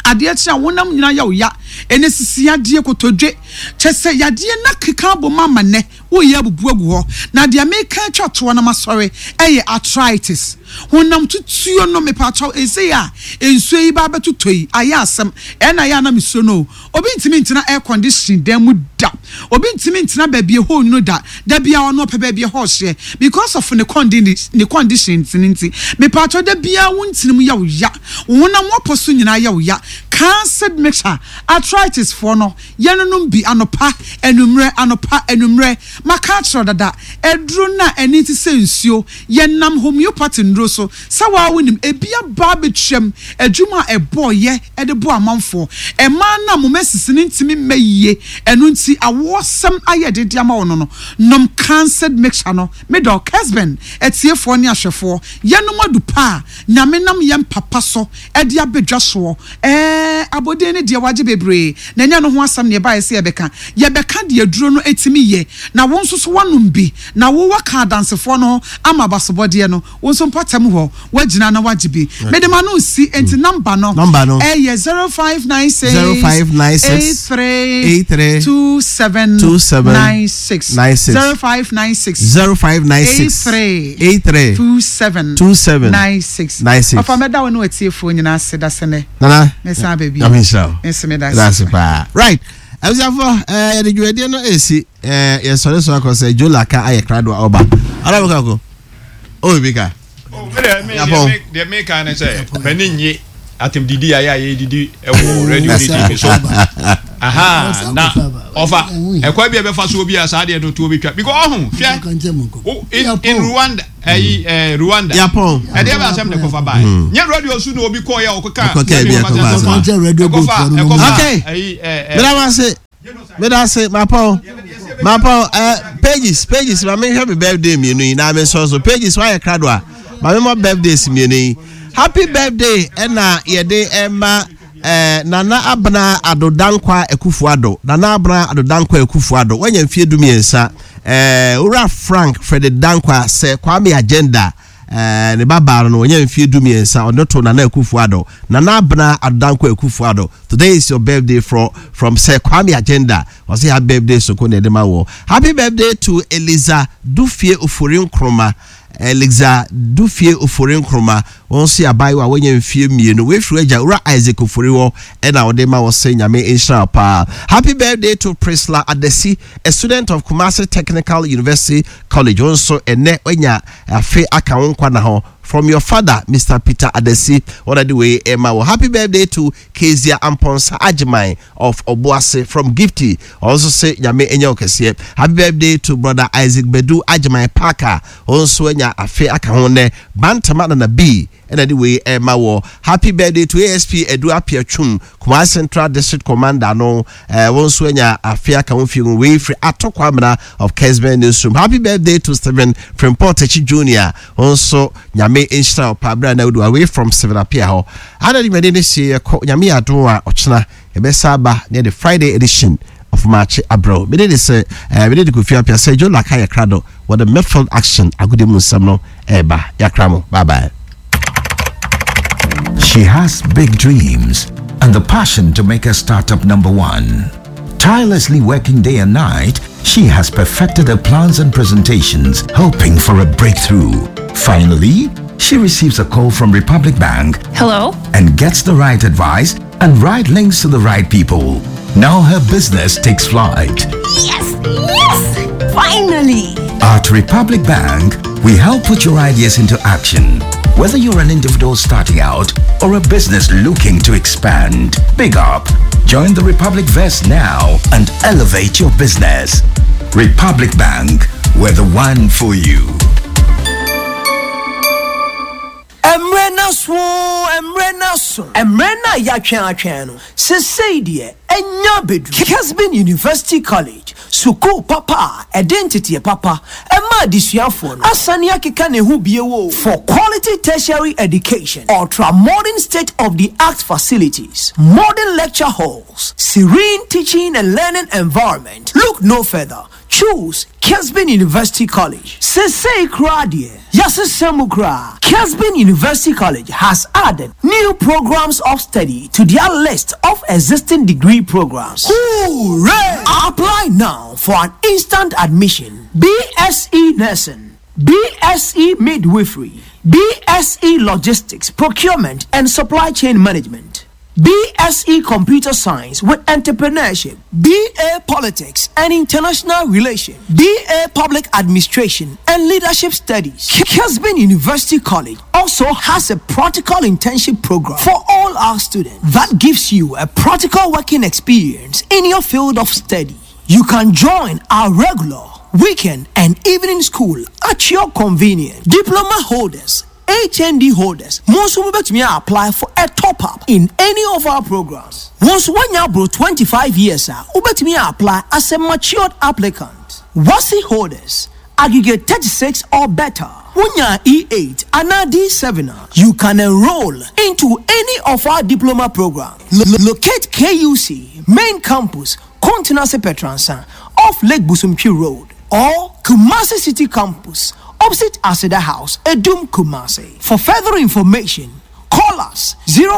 Adeɛ kye a wonam nyinaa yɛ wo ya. Ɛnɛ sisi yadeɛ, kotodwe, kyerɛ sɛ yadeɛ no akeka abom ama nnɛ. Woreyɛ abubu agu hɔ. Na deɛ meka atwa toɔ na masɔre yɛ arthritis. Honam tutuo no, mepaakyɛw, ɛsei a nsuo yi ba abɛtotɔ yi, ayɛ asɛm. Ɛna ayɛ a na mesuro no o. Obi ntumi ntena air condition dan mu da. Obi ntumi ntena baabi ɛhɔ nwunu da. Da biara ɔno ɔpɛ baabi ɛhɔ hyeɛ because of ne ne conditions no nti. Mepaakyɛw, da biara wo ntini mu yɛ wo ya. Wo honam w'apɔ so nyinaa yɛ wo ya. Cancer mixture, arthritis foɔ no, Yɛnonom bi anɔpa, anwummerɛ, anɔpa, anwummerɛ. Maka akyerɛ wo dada, aduro no a ani te sɛ nsuo, yɛnam homeopathy nnuro so. Sɛ wo ara wonim, ebi aba abɛtwam, adwuma a ɛbɔeɛ de boa amanfoɔ. Mmaa no a mo menses no ntumi mma yie, ɛno nti awoɔsɛm ayɛ den de ama wo no no, nom Cancered Mixture no. Me dɔ, Kesben atiefoɔ ne ahwɛfoɔ, yɛnom adu pa a Nyame nam yɛn papa so de abɛdwa soɔ. Ɛɛ, abɔdin no deɛ wagye bebree, na ɛnyɛ ɛno ho asɛm na yɛbaeɛ sɛ yɛbɛka. Yɛbɛka deɛ aduro no tumi yɛ, na wo nso so woanom bi, na wo woaka adansefoɔ no ho ama abasobɔdeɛ no. Wo nso mpɔtam hɔ, woagyina na woagye bi. Mede m'ano resi, enti nɔmba no yɛ 0596 83 27 96. 0596 83 27 96. Ɔfa mɛda wo ne w'atiefoɔ nyinaa ase da sɛ nɛ. Nana, Mɛsan aba bio. Nyame nhyira wo. Me nso meda Meda ase. ase paa. Right. Abusuafo, eh, yɛde dwumadie no esi eh, yɛsɔre so akɔ sɛ Joe Laka ayɛ krado a ɔba. Ɔda mo kako. Oh, bi ka. Oh, me deɛ, me Yapɔn. deɛ, me deɛ meka ne sɛ, m'ani nnye atɛmdidi a yɛ a yɛdidi wɔ radio ne TV so. Aha, na ɔfa ɛkwan bi a ɛbɛfa so bi a saa deɛ no tuo bɛtwa because ɔho hwɛ in Rwanda ɛyi ɛɛ Rwanda ɛdeɛ bɛ asɛm na ɛkɔfa baa hmm. nyɛ radio so na obi kɔɔ yɛ ɔkɔka ɛkɔfa ɛkɔfa ɛyi ɛɛ. Meda wase meda ase mapɔn mapɔn ɛɛ pages pages maame hwɛ mi birthday mmienu yi na mi sɔ so pages wayɛ krado a maame mɔ birthdays mmienu yi happy birthday ɛna yɛde ɛma. Eh, Nana Abena Addo Dankwa Akufo Addo, Nana Abena Addo Dankwa Akufo Addo, wanya mfeɛ du mmiɛnsa. Eh, Owura Frank Frederick Dankwa sɛ Kwame Agenda, eh, ne ba baa no no, wanya mfeɛ du mmiɛnsa, ɔde to Nana Akufo Addo. Nana Abena Addo Dankwa Akufo Addo, today is your birthday from, from Sir Kwame Agenda. Ɔsɛ happy birthday soko na ɛde ma wɔ. Happy birthday to Eliza Dufie Ofori Nkrumah. Elixa Dufie Ofori Nkrumah, wɔn nso yɛ abaayewa a wanya mfie mmienu. Wei firi agya Owura Isaac Ofori hɔ ɛna ɔde ma wɔ sɛ Nyame nhyira wo paa. Happy birthday to Priscilla Adesi, a student of Kumasi Technical University College. Wɔn nso ɛnɛ wanya afe aka wo nkwa na ho. From your father, Mr. Peter Adesi, wɔn na de wei ɛma wɔ. Happy birthday to Kezia Amponsah Agyeman of Obuasi from Gifty ɔno nso se Nyame nyɛ wo kɛseɛ. Happy birthday to brother Isaac Badu Agyeman Parker ɔno nso anya afe aka ho nnɛ. Bantama Nana B ɛna de wei ɛma wɔ. Happy birthday to ASP Adu Appiah Twum Kumasi Central District Commander no eh, wɔn nso anya afe aka ho fie mu. Wei firi Ato Kwamena of Kesben Newsroom. Happy birthday to Stephen Frimpong Takyi Junior wɔn nso Nyame nhyira wo paa berɛ a na wodi away from Stephen Appiah hɔ. Ana dwumadi no sie yɛkɔ Nyame yɛ adom a ɔkyena yɛbɛsa aba ne yɛde Friday edition of Maakye abrɛ wo. Mede de sɛ eh, mede de Kofi Appiah sɛ Joe Laka yɛ krado wɔ the midfield action agodi mu nsɛm no ɛreba. Yɛakra mo. Bye bye. She has big dreams and the passion to make her startup number one. Tirelessly working day and night, she has perfected her plans and presentations, hoping for a breakthrough. Finally, she receives a call from Republic Bank. Hello? And gets the right advice and right links to the right people. Now her business takes flight. Yes! Yes! Finally! At Republic Bank, we help put your ideas into action. Whether you're an individual starting out or a business looking to expand, big up. Join the Republic Vest now and elevate your business. Republic Bank, we're the one for you. Mmerɛ no aso oo, mmerɛ no aso. Mmerɛ no a yɛatwɛn atwɛn no, sesei deɛ anya abɛduru. Kesben University College, sukuu papa a ɛde nteteɛ papa ma adesuafoɔ no, asane akeka ne ho bio oo. For quality tertiary education, ultra modern state of the art facilities, modern lecture halls, serene teaching and learning environment, look no further. Choose Kesben University College. Sesei koraa deɛ, yɛasesa mu koraa. Kesben University College has added new programs of study to their list of existing degree programs. Hooray! Apply now for an instant admission. BSc Nursing, BSc Midwifery, BSc Logistics, Procurement and Supply Chain Management. BSc Computer Science with Entrepreneurship, BA Politics and International Relations, BA Public Administration and Leadership Studies. Kesben University College also has a practical internship program for all our students that gives you a practical working experience in your field of study. You can join our regular, weekend, and evening school at your convenience. Diploma holders, HND holders, mo nso mobɛtumi a apply for a top up in any of our programs. Wo nso woanya aboro 25 years a, wobɛtumi a apply as a matured applicant. WASSCE holders, aggregate 36 or better, wonya E8 anaa D7 a, you can enroll into any of our diploma programs. Locate KUC main campus, Kontenase Petransa, off Lake Bosomtwe Road, or Kumasi City Campus, opposite Aseda House, Adum, Kumasi. For further information, call us 0.